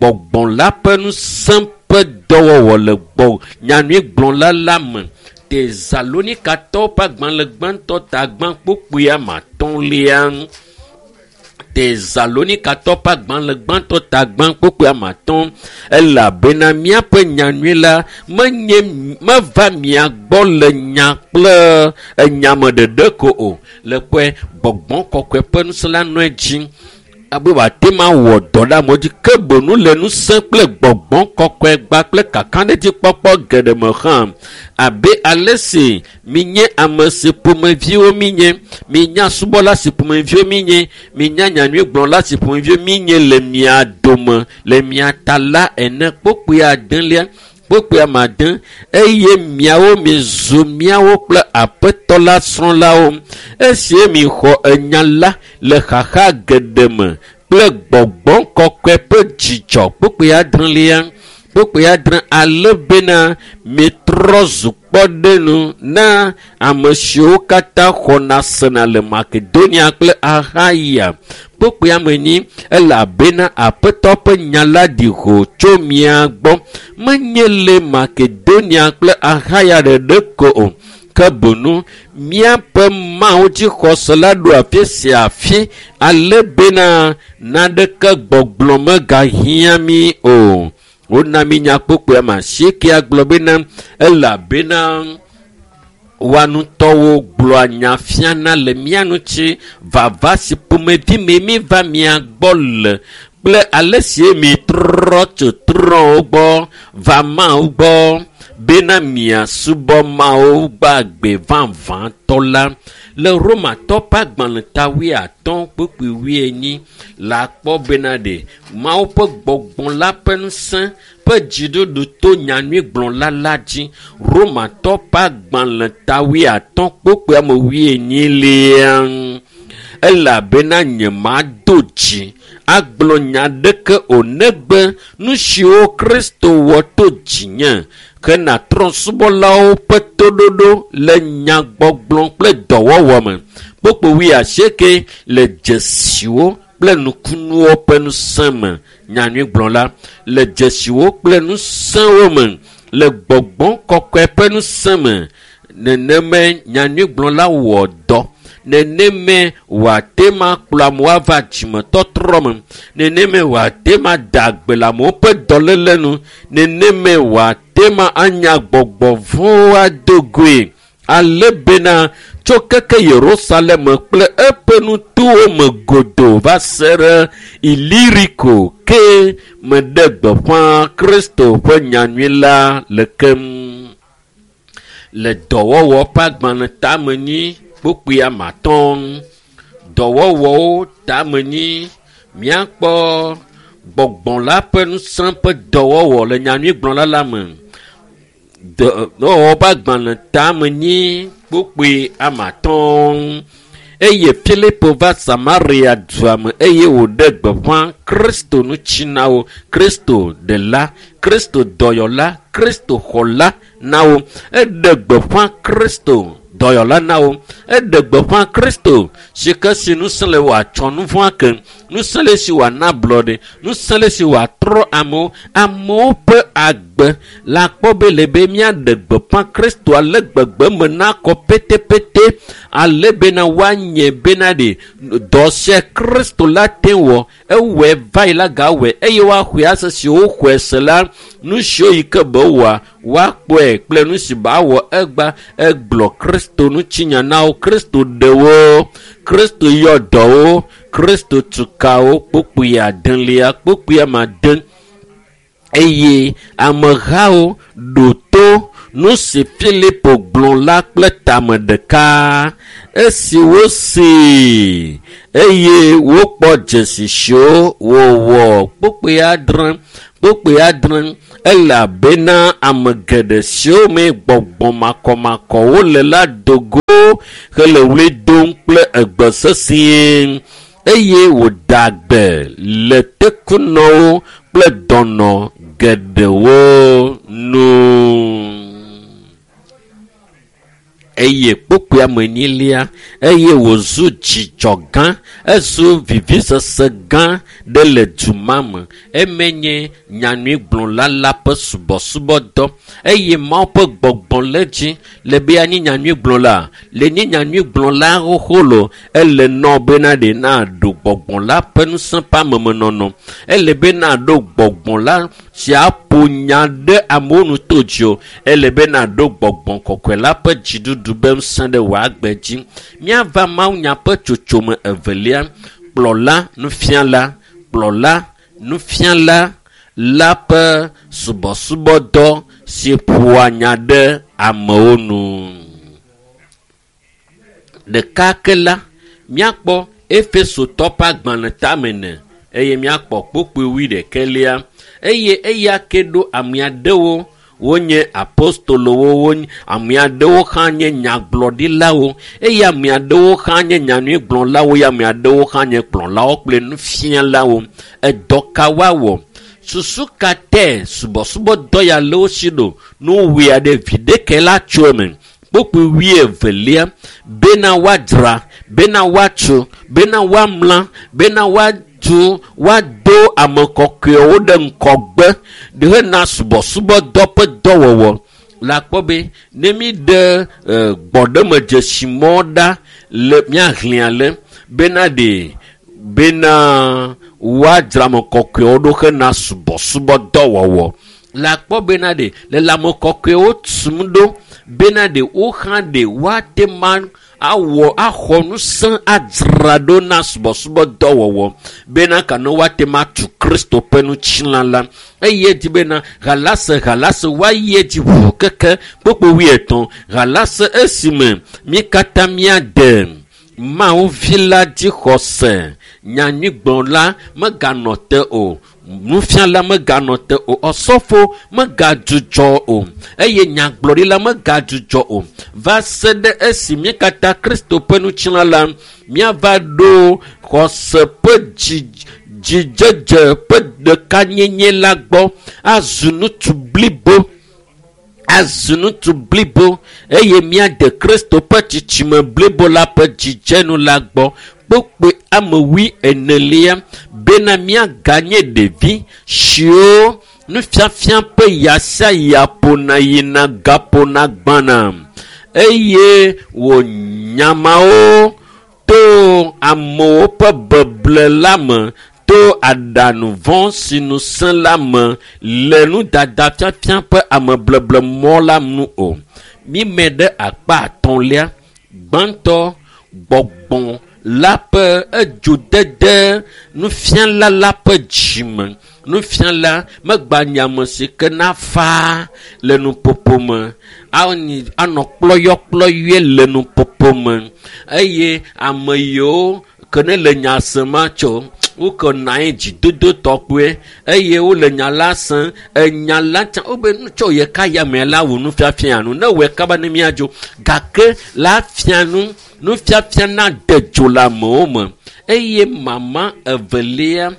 Gbɔgbɔ la ƒe ŋusẽ ƒe dɔwɔwɔ le gbɔ nyanyuigblɔla la me. Tesalonikatɔwo ƒe agbalẽ gbãtɔ ta 2 kpokpoe 5. Tesalonikatɔwo ƒe agbalẽ gbãtɔ ta 2 kpokpoe 5. Elabena míaƒe nyanyui la menye meva mia gbɔ le nya kple enyame ɖeɖe ko o. Le kpɔe gbɔgbɔ kɔkɔe ƒe ŋusẽ la nɔ edzi abe wòate ma wɔ dɔ ɖe amewo dzi ke boŋ le ŋusẽ kple gbɔgbɔ kɔkɔe gba kple kakaɖedzikpɔkpɔ geɖe me hã. Abe ale si minye ame si ƒomeviwo minye, minya subɔla si ƒomeviwo minye, minya nyanyuigblɔla si ƒomeviwo minye le mia dome le mia ta la ene. Kpokpoe 9 kpokpoe 9 eye miawo mizu miawo kple Aƒetɔ la srɔ̃lawo esi mixɔ enya la le xaxa geɖe me kple gbɔgbɔ kɔkɔe ƒe dzidzɔ. Kpokpoe 9 kpokpoe 9 ale bena mitrɔ zu kpɔɖenu na ame siwo katã xɔna sena le Makedonia kple Axaya. Kpokpoe 4 elabena Aƒetɔ ƒe nya la ɖi ho tso mia gbɔ menye le Makedonia kple Axaya ɖeɖe ko o, ke Ke boŋu míaƒe Mawu dzixɔse la ɖo afi sia afi ale bena naneke gbɔgblɔ megahiã mí o. Wona mí nya kpokpoe ame asiekea gblɔ bena elabena woa ŋutɔwo gblɔa nya fiana le mía ŋuti vava si ƒomevi me míva mia gbɔ le kple ale si mitrɔ tso trɔ̃wo gbɔ va Mawu gbɔ bena miasubɔ Mawu gbagbe vavãtɔ la. Le Romatɔ ƒe agbalẽ ta wuiatɔ̃ kpukpui wuienyi la kpɔ bena ɖe Mawu ƒe gbɔgbɔ la ƒe ŋusẽ ƒe dziɖuɖu to nyanyuigblɔla la dzi. Romatɔ ƒe agbalẽ ta wuiatɔ̃ kpukpui ame wuienyilia elabena nyemado dzi agblɔ nya ɖeke o negbe nu siwo Kristo wɔ to dzinye hena trɔ̃subɔlawo ƒe toɖoɖo le nyagbɔgblɔ kple dɔwɔwɔ me. Kpukpui wuiasieke le dzesiwo kple nukunuwo ƒe ŋusẽ me. Nyanyuigblɔla le dzesiwo kple ŋusẽwo me le gbɔgbɔ kɔkɔe ƒe ŋusẽ me. Nenemae nyanyuigblɔla wɔ dɔ. Nenemae wòate ma kplɔ amewo ava dzimetɔtrɔ me. Nenemae wòate ma da gbe le amewo ƒe dɔléle nu. Nenemae wòate ma anya gbɔgbɔ vɔ̃wo ado goe. Ale bena tso keke Yerusalem kple eƒe nutowo me godoo va se ɖe Iliriko ke meɖe gbeƒã Kristo ƒe nyanyui la le keŋ. Le dɔwɔwɔ ƒe agbalẽ tamenyi kpukpui ame atɔ̃. Dɔwɔwɔwo tamenyi míakpɔ gbɔgbɔ la ƒe ŋusẽ ƒe dɔwɔwɔ le nyanyuigblɔla la me. Dɔwɔwɔ ƒe agbalẽ tamenyi kpukpui ame atɔ̃. Eye Filipo va Samaria dua me eye wòɖe gbeƒã Kristo ŋuti na wo. Kristo ɖela, Kristo dɔyɔla, Kristo xɔla na wo. Eɖe gbeƒã Kristo dɔyɔla na wo. Eɖe gbeƒã Kristo si ke si ŋusẽ le wòatsɔ nu vɔ̃ ake, ŋusẽ le si wòana ablɔɖe, ŋusẽ le si wòatrɔ amewo. Amewo ƒe agbe la kpɔ be le be míaɖe gbeƒã Kristo ale gbegbe me nakɔ pétépété ale bena woanye bena ɖe dɔ sia Kristo la te wɔ ewɔe va yi la gawɔe eye woaxɔe ase si woxɔe se la nu siwo yi ke be wɔa woakpɔe kple nu si ba wɔ egba egblɔ Kristo ŋutinya na wo. Kristo ɖe wo, Kristo yɔ dɔ wo, Kristo tu ka wo. Kpukpui adelia kpukpui ame ade eye amehawo ɖo to nu si Filipo gblɔ la kple tame ɖeka. Esi wosee eye wokpɔ dzesi siwo wòwɔ. Kpukpui adre kpukpui adre elabena ame geɖe siwo me gbɔgbɔ makɔmakɔwo le la do go hele ɣli dom kple egbe sesĩe eye wòda gbe le tekunɔwo kple dɔnɔ geɖewo nu. Eye kpukpui ame enyilia eye wòzu dzidzɔ gã, ezu vivisese gã ɖe le du ma me. Eme nye nyanyuigblɔla la ƒe subɔsubɔdɔ eye Mawu ƒe gbɔgbɔ le edzi le be anyi nyanyuigblɔla. Le nye nyanyuigblɔla xoxo lo, ele nɔ bena ɖe naɖo gbɔgbɔ la ƒe ŋusẽ ƒe amemenɔnɔ. Ele be naɖo gbɔgbɔ la si aƒo nya ɖe amewo nu to dzi o. Ele be naɖo gbɔgbɔ kɔkɔe la ƒe dziɖuɖu be ŋusẽ ɖe wò agbe dzi. Míava mawunya ƒe tsotsome evelia, kplɔla nufiala, kplɔla nufiala la ƒe subɔsubɔdɔ si ƒoa nya ɖe amewo nu. Ɖeka ke la, míakpɔ Efesotɔ ƒe agbalẽ tame ene eye míakpɔ kpukpui wuiɖekɛlia eye eya ke ɖo ame aɖewo wonye apostolowo, wonye ame aɖewo hã nye nyagblɔɖilawo eye ame aɖewo hã nye nyanyuigblɔlawo eye ame aɖewo hã nye kplɔlawo kple nufialawo. Edɔ ka woawɔ? Susu ka te subɔsubɔdɔ ya le wo si ɖo? Nuwɔe aɖe viɖeke la tso eme. Kpukpui wuievelia bena woadzra, bena woatso, bena woamla, bena woatu, woado ame kɔkɔewo ɖe ŋgɔgbe hena subɔsubɔdɔ ƒe dɔwɔwɔ. Le akpɔ be ne mi ɖe gbɔɖemedzesimɔ ɖa le míahlẽ ale bena ɖe bena woadzra ame kɔkɔewo ɖo hena subɔsubɔdɔwɔwɔ. Le akpɔ bena ɖe le lãme kɔkɔewo tum ɖo bena ɖe wo hã ɖe woate ma awɔ axɔ ŋusẽ adzra ɖo na subɔsubɔdɔwɔwɔ bena ka ne woate ma tu Kristo ƒe ŋutilã la. Eye dzi bena halase halase woayi edzi ʋu keke kpokpo wuietɔ̃ halase esime mí katã míade Mawu vi la dzixɔse. Nyanyuigblɔla meganɔ te o, nufiala meganɔ te o, ɔsɔfo megadzudzɔ o, eye nyagblɔɖila megadzudzɔ o, va se ɖe esi mí katã Kristo ƒe ŋutilã la míava ɖo xɔse ƒe dzidzedze ƒe ɖekanyenye la gbɔ azu ŋutsu blibo. Azu ŋutsu blibo eye míade Kristo ƒe tsitsime blibo la ƒe dzidzenu la gbɔ. Kpokpoe ame wui enelia bena míaganye ɖevi siwo nufiafia ƒe ya sia ya ƒona yina gaƒona gbãna eye wònyamawo to amewo ƒe beble la me to aɖaŋu vɔ̃ si nu sẽ la me le nudada fiafia ƒe amebleblemɔ la nu o. Mímɛ ɖe akpa atɔ̃lia. Gbãtɔ, gbɔgbɔ la ƒe edzodede nufiala la ƒe dzime. Nufiala megba nye ame si ke nafa le nuƒoƒo me, anɔ kplɔyɔkplɔyɔe le nuƒoƒo me eye ame yiwo ke ne le nya sem atso woke nɔ anyi dzidodo tɔkpoe eye wole nya la sem. Enya la tsã wobe nu tso ye ka ya me la wò nufiafia nu ne wɔe kaba ne míadzo gake la fia nu nufiafia na de dzo le amewo me. Eye mama evelia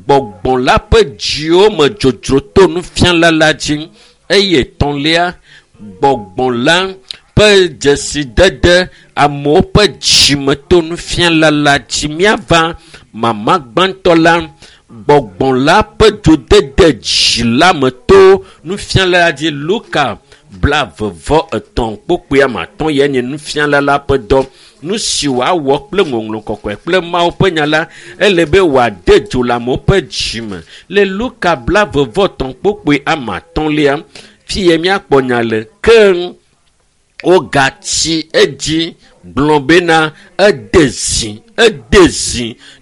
gbɔgbɔ la ƒe dziwo me dzodzro to nufiala la dzi. Eye etɔ̃lia gbɔgbɔ la ƒe dzesidede amewo ƒe dzime to nufiala la dzi. Míava mama gbãtɔ la gbɔgbɔ la ƒe dzodede dzi la me to nufiala la dzi. Luka 23 kpokpoe ame atɔ̃ ye nye nufiala la ƒe dɔ. Nu si wòawɔ kple ŋɔŋlɔ kɔkɔe kple Mawu ƒe nya la, ele be wòade dzo le amewo ƒe dzime. Le Luka 23 kpokpoe ame atɔ̃lia, fi ye míakpɔ nya le. Ke wogatsi edzi gblɔ bena ede zi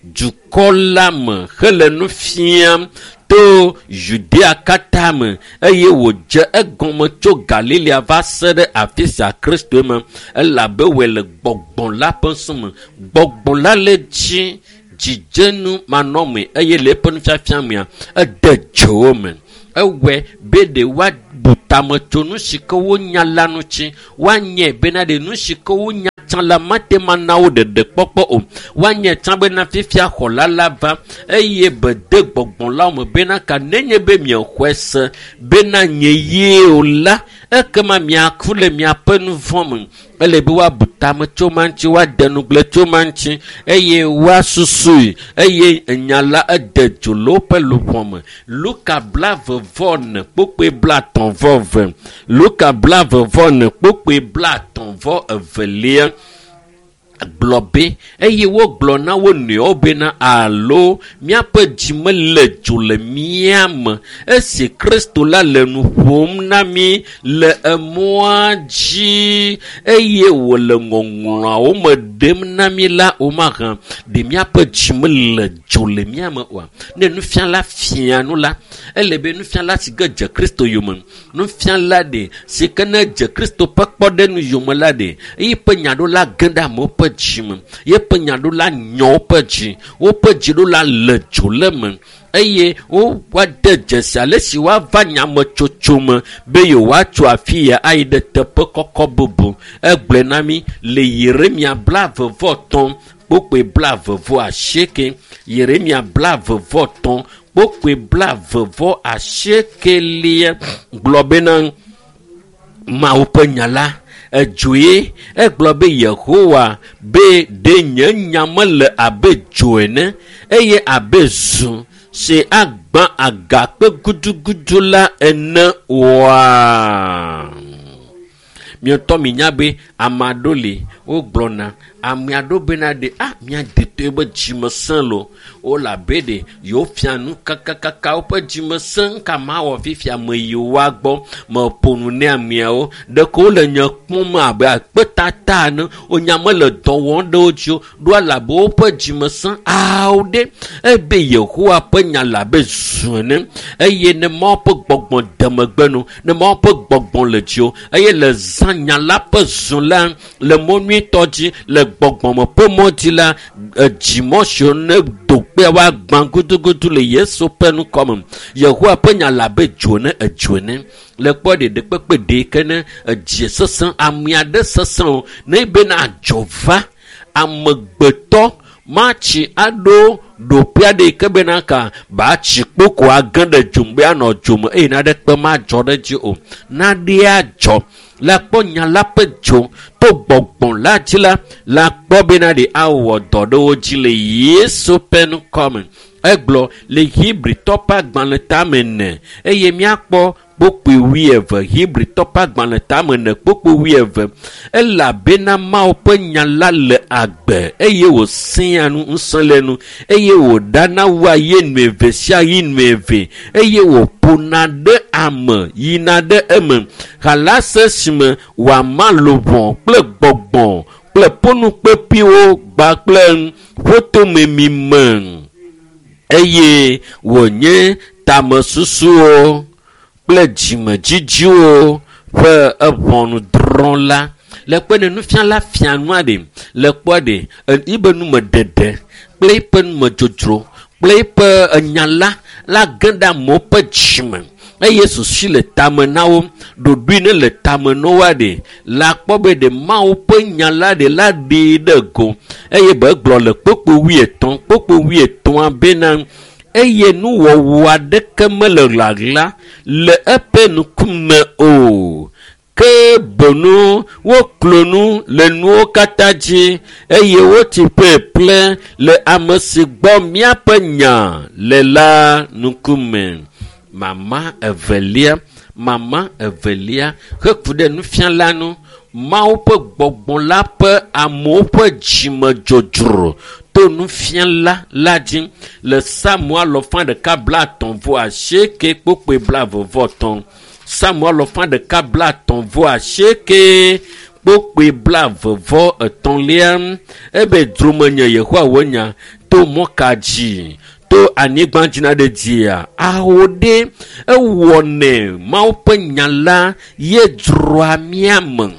dukɔ la me hele nu fiam to Judea katã me eye wòdze egɔme tso Galilea va se ɖe afi sia Kristo me elabe wòe le gbɔgbɔ la ƒe ŋusẽ me. Gbɔgbɔ la le dzi dzidzenu manɔmee eye le eƒe nufiafia mea ede dzo wo me. Ewɔe be ɖe woabu tame tso nu si ke wonya la ŋuti. Woanye bena ɖe nu si ke wonya tsã la mate ma na wo ɖeɖe kpɔkpɔ o. Woanye tsã bena fifia xɔla la va eye bede gbɔgbɔ la me bena ka nenye be miexɔe se bena nye yie o la, ekema miaku le miaƒe nu vɔ̃ me. Ele be woabu tame tso ma ŋuti, woade nugble tso ma ŋuti eye woasusui eye enya la ede dzo le woƒe luʋɔ me. Luka 24 kpokpoe 30/2. Luka 24 kpokpoe 30/2 gblɔ be eye wogblɔ na wo nɔewo bena alo míaƒe dzi mele dzo le mía me esi Kristo la le nu ƒom na mí le emɔa dzi eye wòle ŋɔŋlɔawo me ɖem na mí la o mahã ɖe míaƒe dzi mele dzo le mía me oa? Ne nufiala fia nu la, ele be nufiala si ke dze Kristo yome, nufiala ɖe si ke ne dze Kristo ƒe kpɔɖeŋu yome la ɖe eƒe nyaɖola ge ɖe amewo ƒe dzi me, yeƒe nyaɖola nyɔ woƒe dzi, woƒe dziɖola le dzo le me eye woade dzesi ale si woava nyametsotso me be yewoatso afi ya ayi ɖe teƒe kɔkɔ bubu. Egblɔe na mí le Yeremia 23 kpokpoe 28. Yeremia 23 kpokpoe 28 gblɔ bena Mawu ƒe nya la edzoe. Egblɔ be Yehowa be ɖe nye nya mele abe dzo ene eye abe zu si agbã agakpe gudugudu la ene oa? Miɔtɔ mi nya be ame aɖewo li wogblɔna ame aɖewo bena ɖe a mía detɔe be dzime sẽ lo. Wole abe ɖe yewo fia nu kakakaka woƒe dzime sẽ ŋka mawɔ fifia me yi woa gbɔ meƒo nu ne ameawo. Ɖeko wole nye kpɔm abe akpetata ene. Wonya mele dɔ wɔm ɖe wo dzi o. Ɖo elabe woƒe dzime sẽ awo ɖe ebe Yehowa ƒe nya le abe zu ene eye ne Mawu ƒe gbɔgbɔ de megbe no, ne Mawu ƒe gbɔgbɔ le dziwò eye le zã nya la ƒe zu la le mɔ nyuitɔ dzi le gbɔgbɔme ƒe mɔ dzi la edzimɔ siwo ne do kpea woagbã gudugudu le Yesu ƒe ŋkɔme. Yehowa ƒe nya le abe dzo ene edzo ene. Le kpɔ ɖeɖe kpekpe ɖe ke ne edzi sesẽ ame aɖe sesẽ o ne bena adzɔ va amegbetɔ matsi aɖo ɖoƒe aɖe yi ke bena ka batsi kpoko age ɖe dzome be anɔ dzome eye naɖekpe madzɔ ɖe edzi o. Naɖe adzɔ la kpɔ nya la ƒe dzo to gbɔgbɔ la dzi la la kpɔ bena ɖe awɔ dɔ ɖe wo dzi le Yesu ƒe ŋkɔme. Egblɔ le Hebritɔ ƒe agbalẽ tame ene eye míakpɔ kpokpoe wuieve Hebritɔ ƒe agbalẽ tame ene kpokpoe wuieve elabena Mawu ƒe nya la le agbe eye wòsẽa nu ŋusẽ le nu eye wòɖana wua ye nu eve sia yi nu eve eye wòƒona ɖe ame yina ɖe eme halase si me wòama luʋɔ kple gbɔgbɔ kple ƒonukpeƒiwo kpakple ƒotomemi me eye wònye tamesusuwo kple dzimedzidziwo ƒe eʋɔnudrɔ̃la. Le kpe ne nufiala fia nua ɖe le kpɔ ɖe yibe numeɖeɖe kple eƒe numedzodzro kple eƒe enya la la ge ɖe amewo ƒe dzime eye susu le tame na wo ɖoɖoe ne le tame na woa ɖe la kpɔ be ɖe Mawu ƒe nya la ɖe la ɖee ɖe go eye be egblɔ le kpokpo wuietɔ̃ bena eye nuwɔwɔ aɖeke mele ɣaɣla le eƒe ŋkume o ke boŋu woklo nu le nuwo katã dzi eye wotsi ƒeƒle le ame si gbɔ míaƒe nya le la ŋkume. Mama evelia heku ɖe nufiala nu Mawu ƒe gbɔgbɔ la ƒe amewo ƒe dzimedzodzro to nufiala la dzi le Psalmo alɔfa ɖeka blaetɔ̃ vɔ asieke kpokpoe blaeve vɔ etɔ̃. Psalmo alɔfa ɖeka blaetɔ̃ vɔ asieke kpokpoe blaeve vɔ etɔ̃lia ebe dzromenye Yehowa wò nya to mɔ ka dzi to anyigba dzi na ɖe dzia awo ɖe ewɔnɛ Mawu ƒe nya la ye dzroa mía me.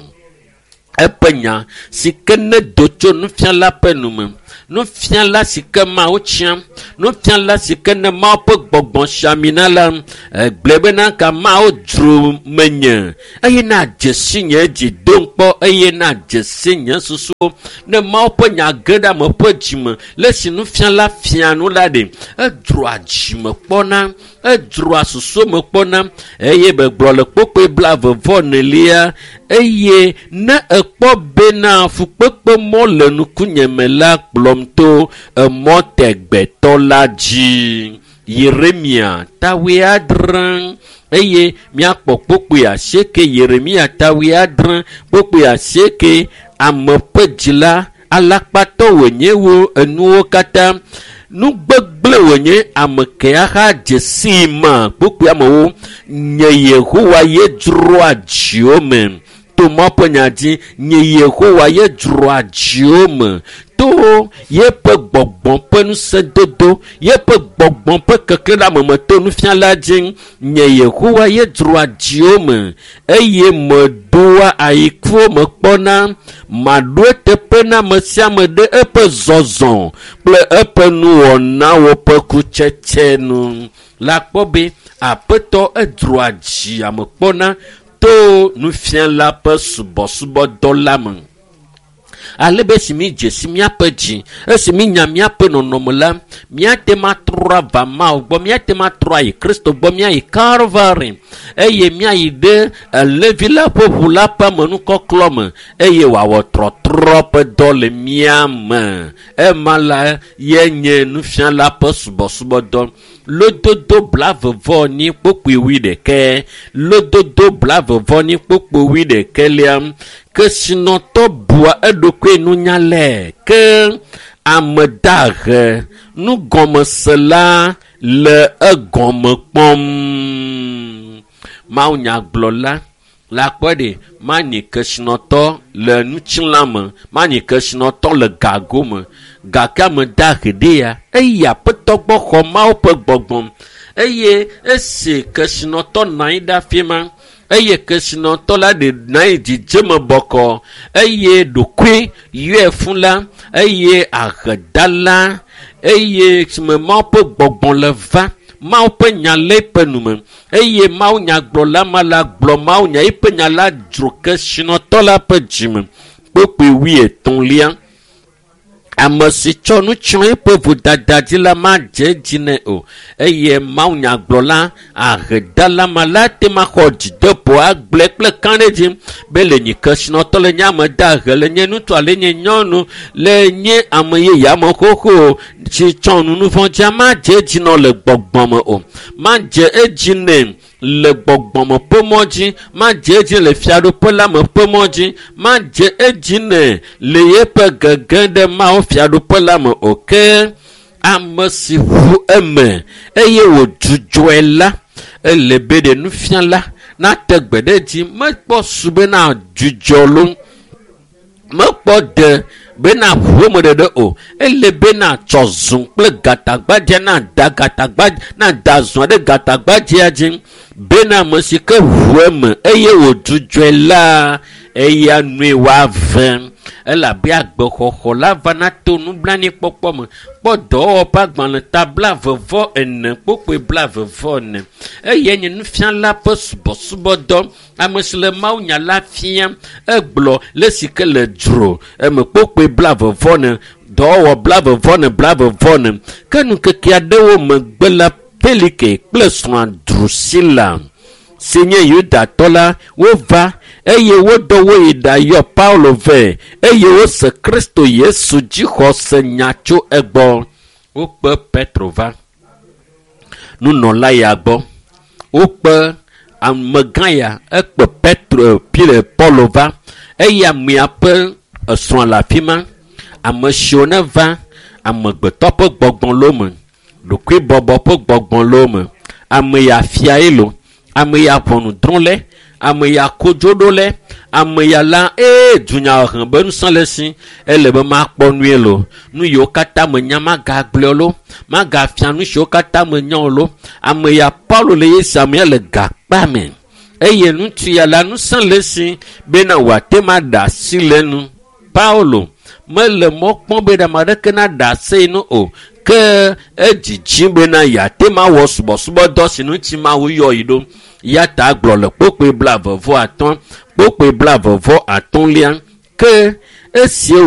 Eƒe nya si ke ne do tso nufiala ƒe nume nufiala si ke Mawu tia nufiala si ke ne Mawu ƒe gbɔgbɔ si ami na la egblɔe bena ka Mawu dzro menye eye na dze si nye dzi dom kpɔ eye na dze si nye susuwo ne Mawu ƒe nya ge ɖe ame ƒe dzime le si nufiala fia nu la ɖe edzroa dzime kpɔna edzroa susu me kpɔna eye begblɔ le kpokpoe 42 eye ne ekpɔ bena fukpekpe mɔ le nukunye me la kplɔm to emɔ tɛgbɛtɔ la dzi. Yeremia ta 70 eye míakpɔ kpokpoe 8 Yeremia ta 70 kpokpoe 8 ame ƒe dzi la alakpatɔ wònye wo enuwo katã nu gbegblẽ wònye ame ke aha dze sii ma kpokpoe amewo nye Yehowa ye dzroa dziwo me to Mawu ƒe nya dzi nye Yehowa ye dzroa dziwo me to yeƒe gbɔgbɔ ƒe ŋusẽdodo yeƒe gbɔgbɔ ƒe keklẽ ɖe ame me to nufiala dzi nye Yehowa ye dzroa dziwo me eye medoa ayikuwo me kpɔna maɖo eteƒe na ame sia ame ɖe eƒe zɔzɔ kple eƒe nuwɔnawo ƒe kutsetse nu. La kpɔ be Aƒetɔ edzroa dzi ame kpɔna to nufiala ƒe subɔsubɔdɔ la me. Ale be esi mi dze si míaƒe dzi, esi mi nya míaƒe nɔnɔme la, míate ŋu atrɔ ava Mawu gbɔ, míate ŋu atrɔ ayi Kristo gbɔ, míayi Kalvari eye míayi ɖe Levi la ƒe ʋu la ƒe amenukɔklɔ me eye wòawɔ trɔtrɔ ƒe dɔ le mía me. Ema la ye nye nufiala ƒe subɔsubɔdɔ. Lododo blavevɔ ni kpokpoe wuiɖekɛ. Lododo blavevɔ ni kpokpoe wuiɖekɛlia. Kesinɔtɔ bua eɖokui nunyalae ke ame dahe nugɔmesela le egɔme kpɔm. Mawunyagblɔla la kpɔ ɖe manyi kesinɔtɔ le ŋutilã me, manyi kesinɔtɔ le gago me gake ame dahe ɖe ya eyi aƒetɔ gbɔ xɔ Mawu ƒe gbɔgbɔ eye esi kesinɔtɔ nɔ anyi ɖe afi ma eye kesinɔtɔ la ɖe nɔ anyi dzidzeme bɔkɔ eye ɖokui yɔe fũ la eye ahedala eye si me Mawu ƒe gbɔgbɔ le va Mawu ƒe nya le eƒe nume eye Mawu nyagblɔla ma la gblɔ Mawu nya eƒe nya la dzro kesinɔtɔ la ƒe dzime. Kpokpoe wuietɔ̃lia. Ame si tsɔ nu tsyɔ eƒe vodada dzi la madze edzi nɛ o eye Mawu nyagblɔla ahedala ma la te ma xɔ dzideƒo agblɔe kple kã ɖe dzi be le nye kesinɔtɔ le nye ame dahe le nye ŋutsu ale nye nyɔnu le nye ame yeye ame xoxo si tsɔ nu nuvɔ̃ dzia madze edzi nɔ le gbɔgbɔ me o madze edzi nɛ le gbɔgbɔme ƒe mɔ dzi madze edzi le fiaɖuƒe la me ƒe mɔ dzi madze edzi nɛ le yeƒe gege ɖe Mawu fiaɖuƒe la me o ke ame si ʋu eme eye wòdzudzɔe la ele be ɖe nufiala nate gbe ɖe edzi mekpɔ su bena dzudzɔ lo mekpɔ de bena ʋu eme ɖeɖe o ele bena tsɔ zũ kple gatagbadzea na da gatagbadze na da zɔa ɖe gatagbadzea dzi bena ame si ke ʋu eme eye wòdzudzɔe la eya nue woave elabe agbexɔxɔ la vana to nublanuikpɔkpɔ me. Kpɔ dɔwɔwɔ ƒe agbalẽ ta 44 kpokpoe 44 eye nye nufiala ƒe subɔsubɔdɔ. Ame si le Mawu nya la fia egblɔ le si ke le dzro eme kpokpoe 44 dɔwɔwɔ 44 44 ke ŋkeke aɖewo megbe la Felike kple srɔ̃a Drusila si nye Yudatɔ la wova eye wodɔ wo yi ɖayɔ Paulo vɛ eye wose Kristo Yesu dzixɔse nya tso egbɔ. Wokpe Petro va nunɔla ya gbɔ. Wokpe amegã ya ekpe Petro Pierre Paulo va eye amea ƒe esrɔ̃ le afi ma. Ame siwo ne va amegbetɔ ƒe gbɔgbɔ le wo me, ɖokuibɔbɔ ƒe gbɔgbɔ le wo me. Ame ya fiae lo, ame ya ʋɔnudrɔ̃ le, ame ya kodzoɖo le, ame ya la ee dunyahehe be ŋusẽ le esi ele be makpɔ nue lo. Nu yiwo katã menya magagblɔ lo, magafia nu siwo katã menya o lo. Ame ya Paulo le ye si ame ya le gakpa me eye ŋutsu ya la ŋusẽ le esi bena wòate ŋu aɖe asi le enu. Paulo mele mɔ kpɔm be ame aɖeke naɖe asi nu o ke edzidzi bena yeate ŋu awɔ subɔsubɔdɔ si ŋuti Mawu yɔ yi ɖo. Ya ta gblɔ le kpokpoe 35 kpokpoe 35 ke esie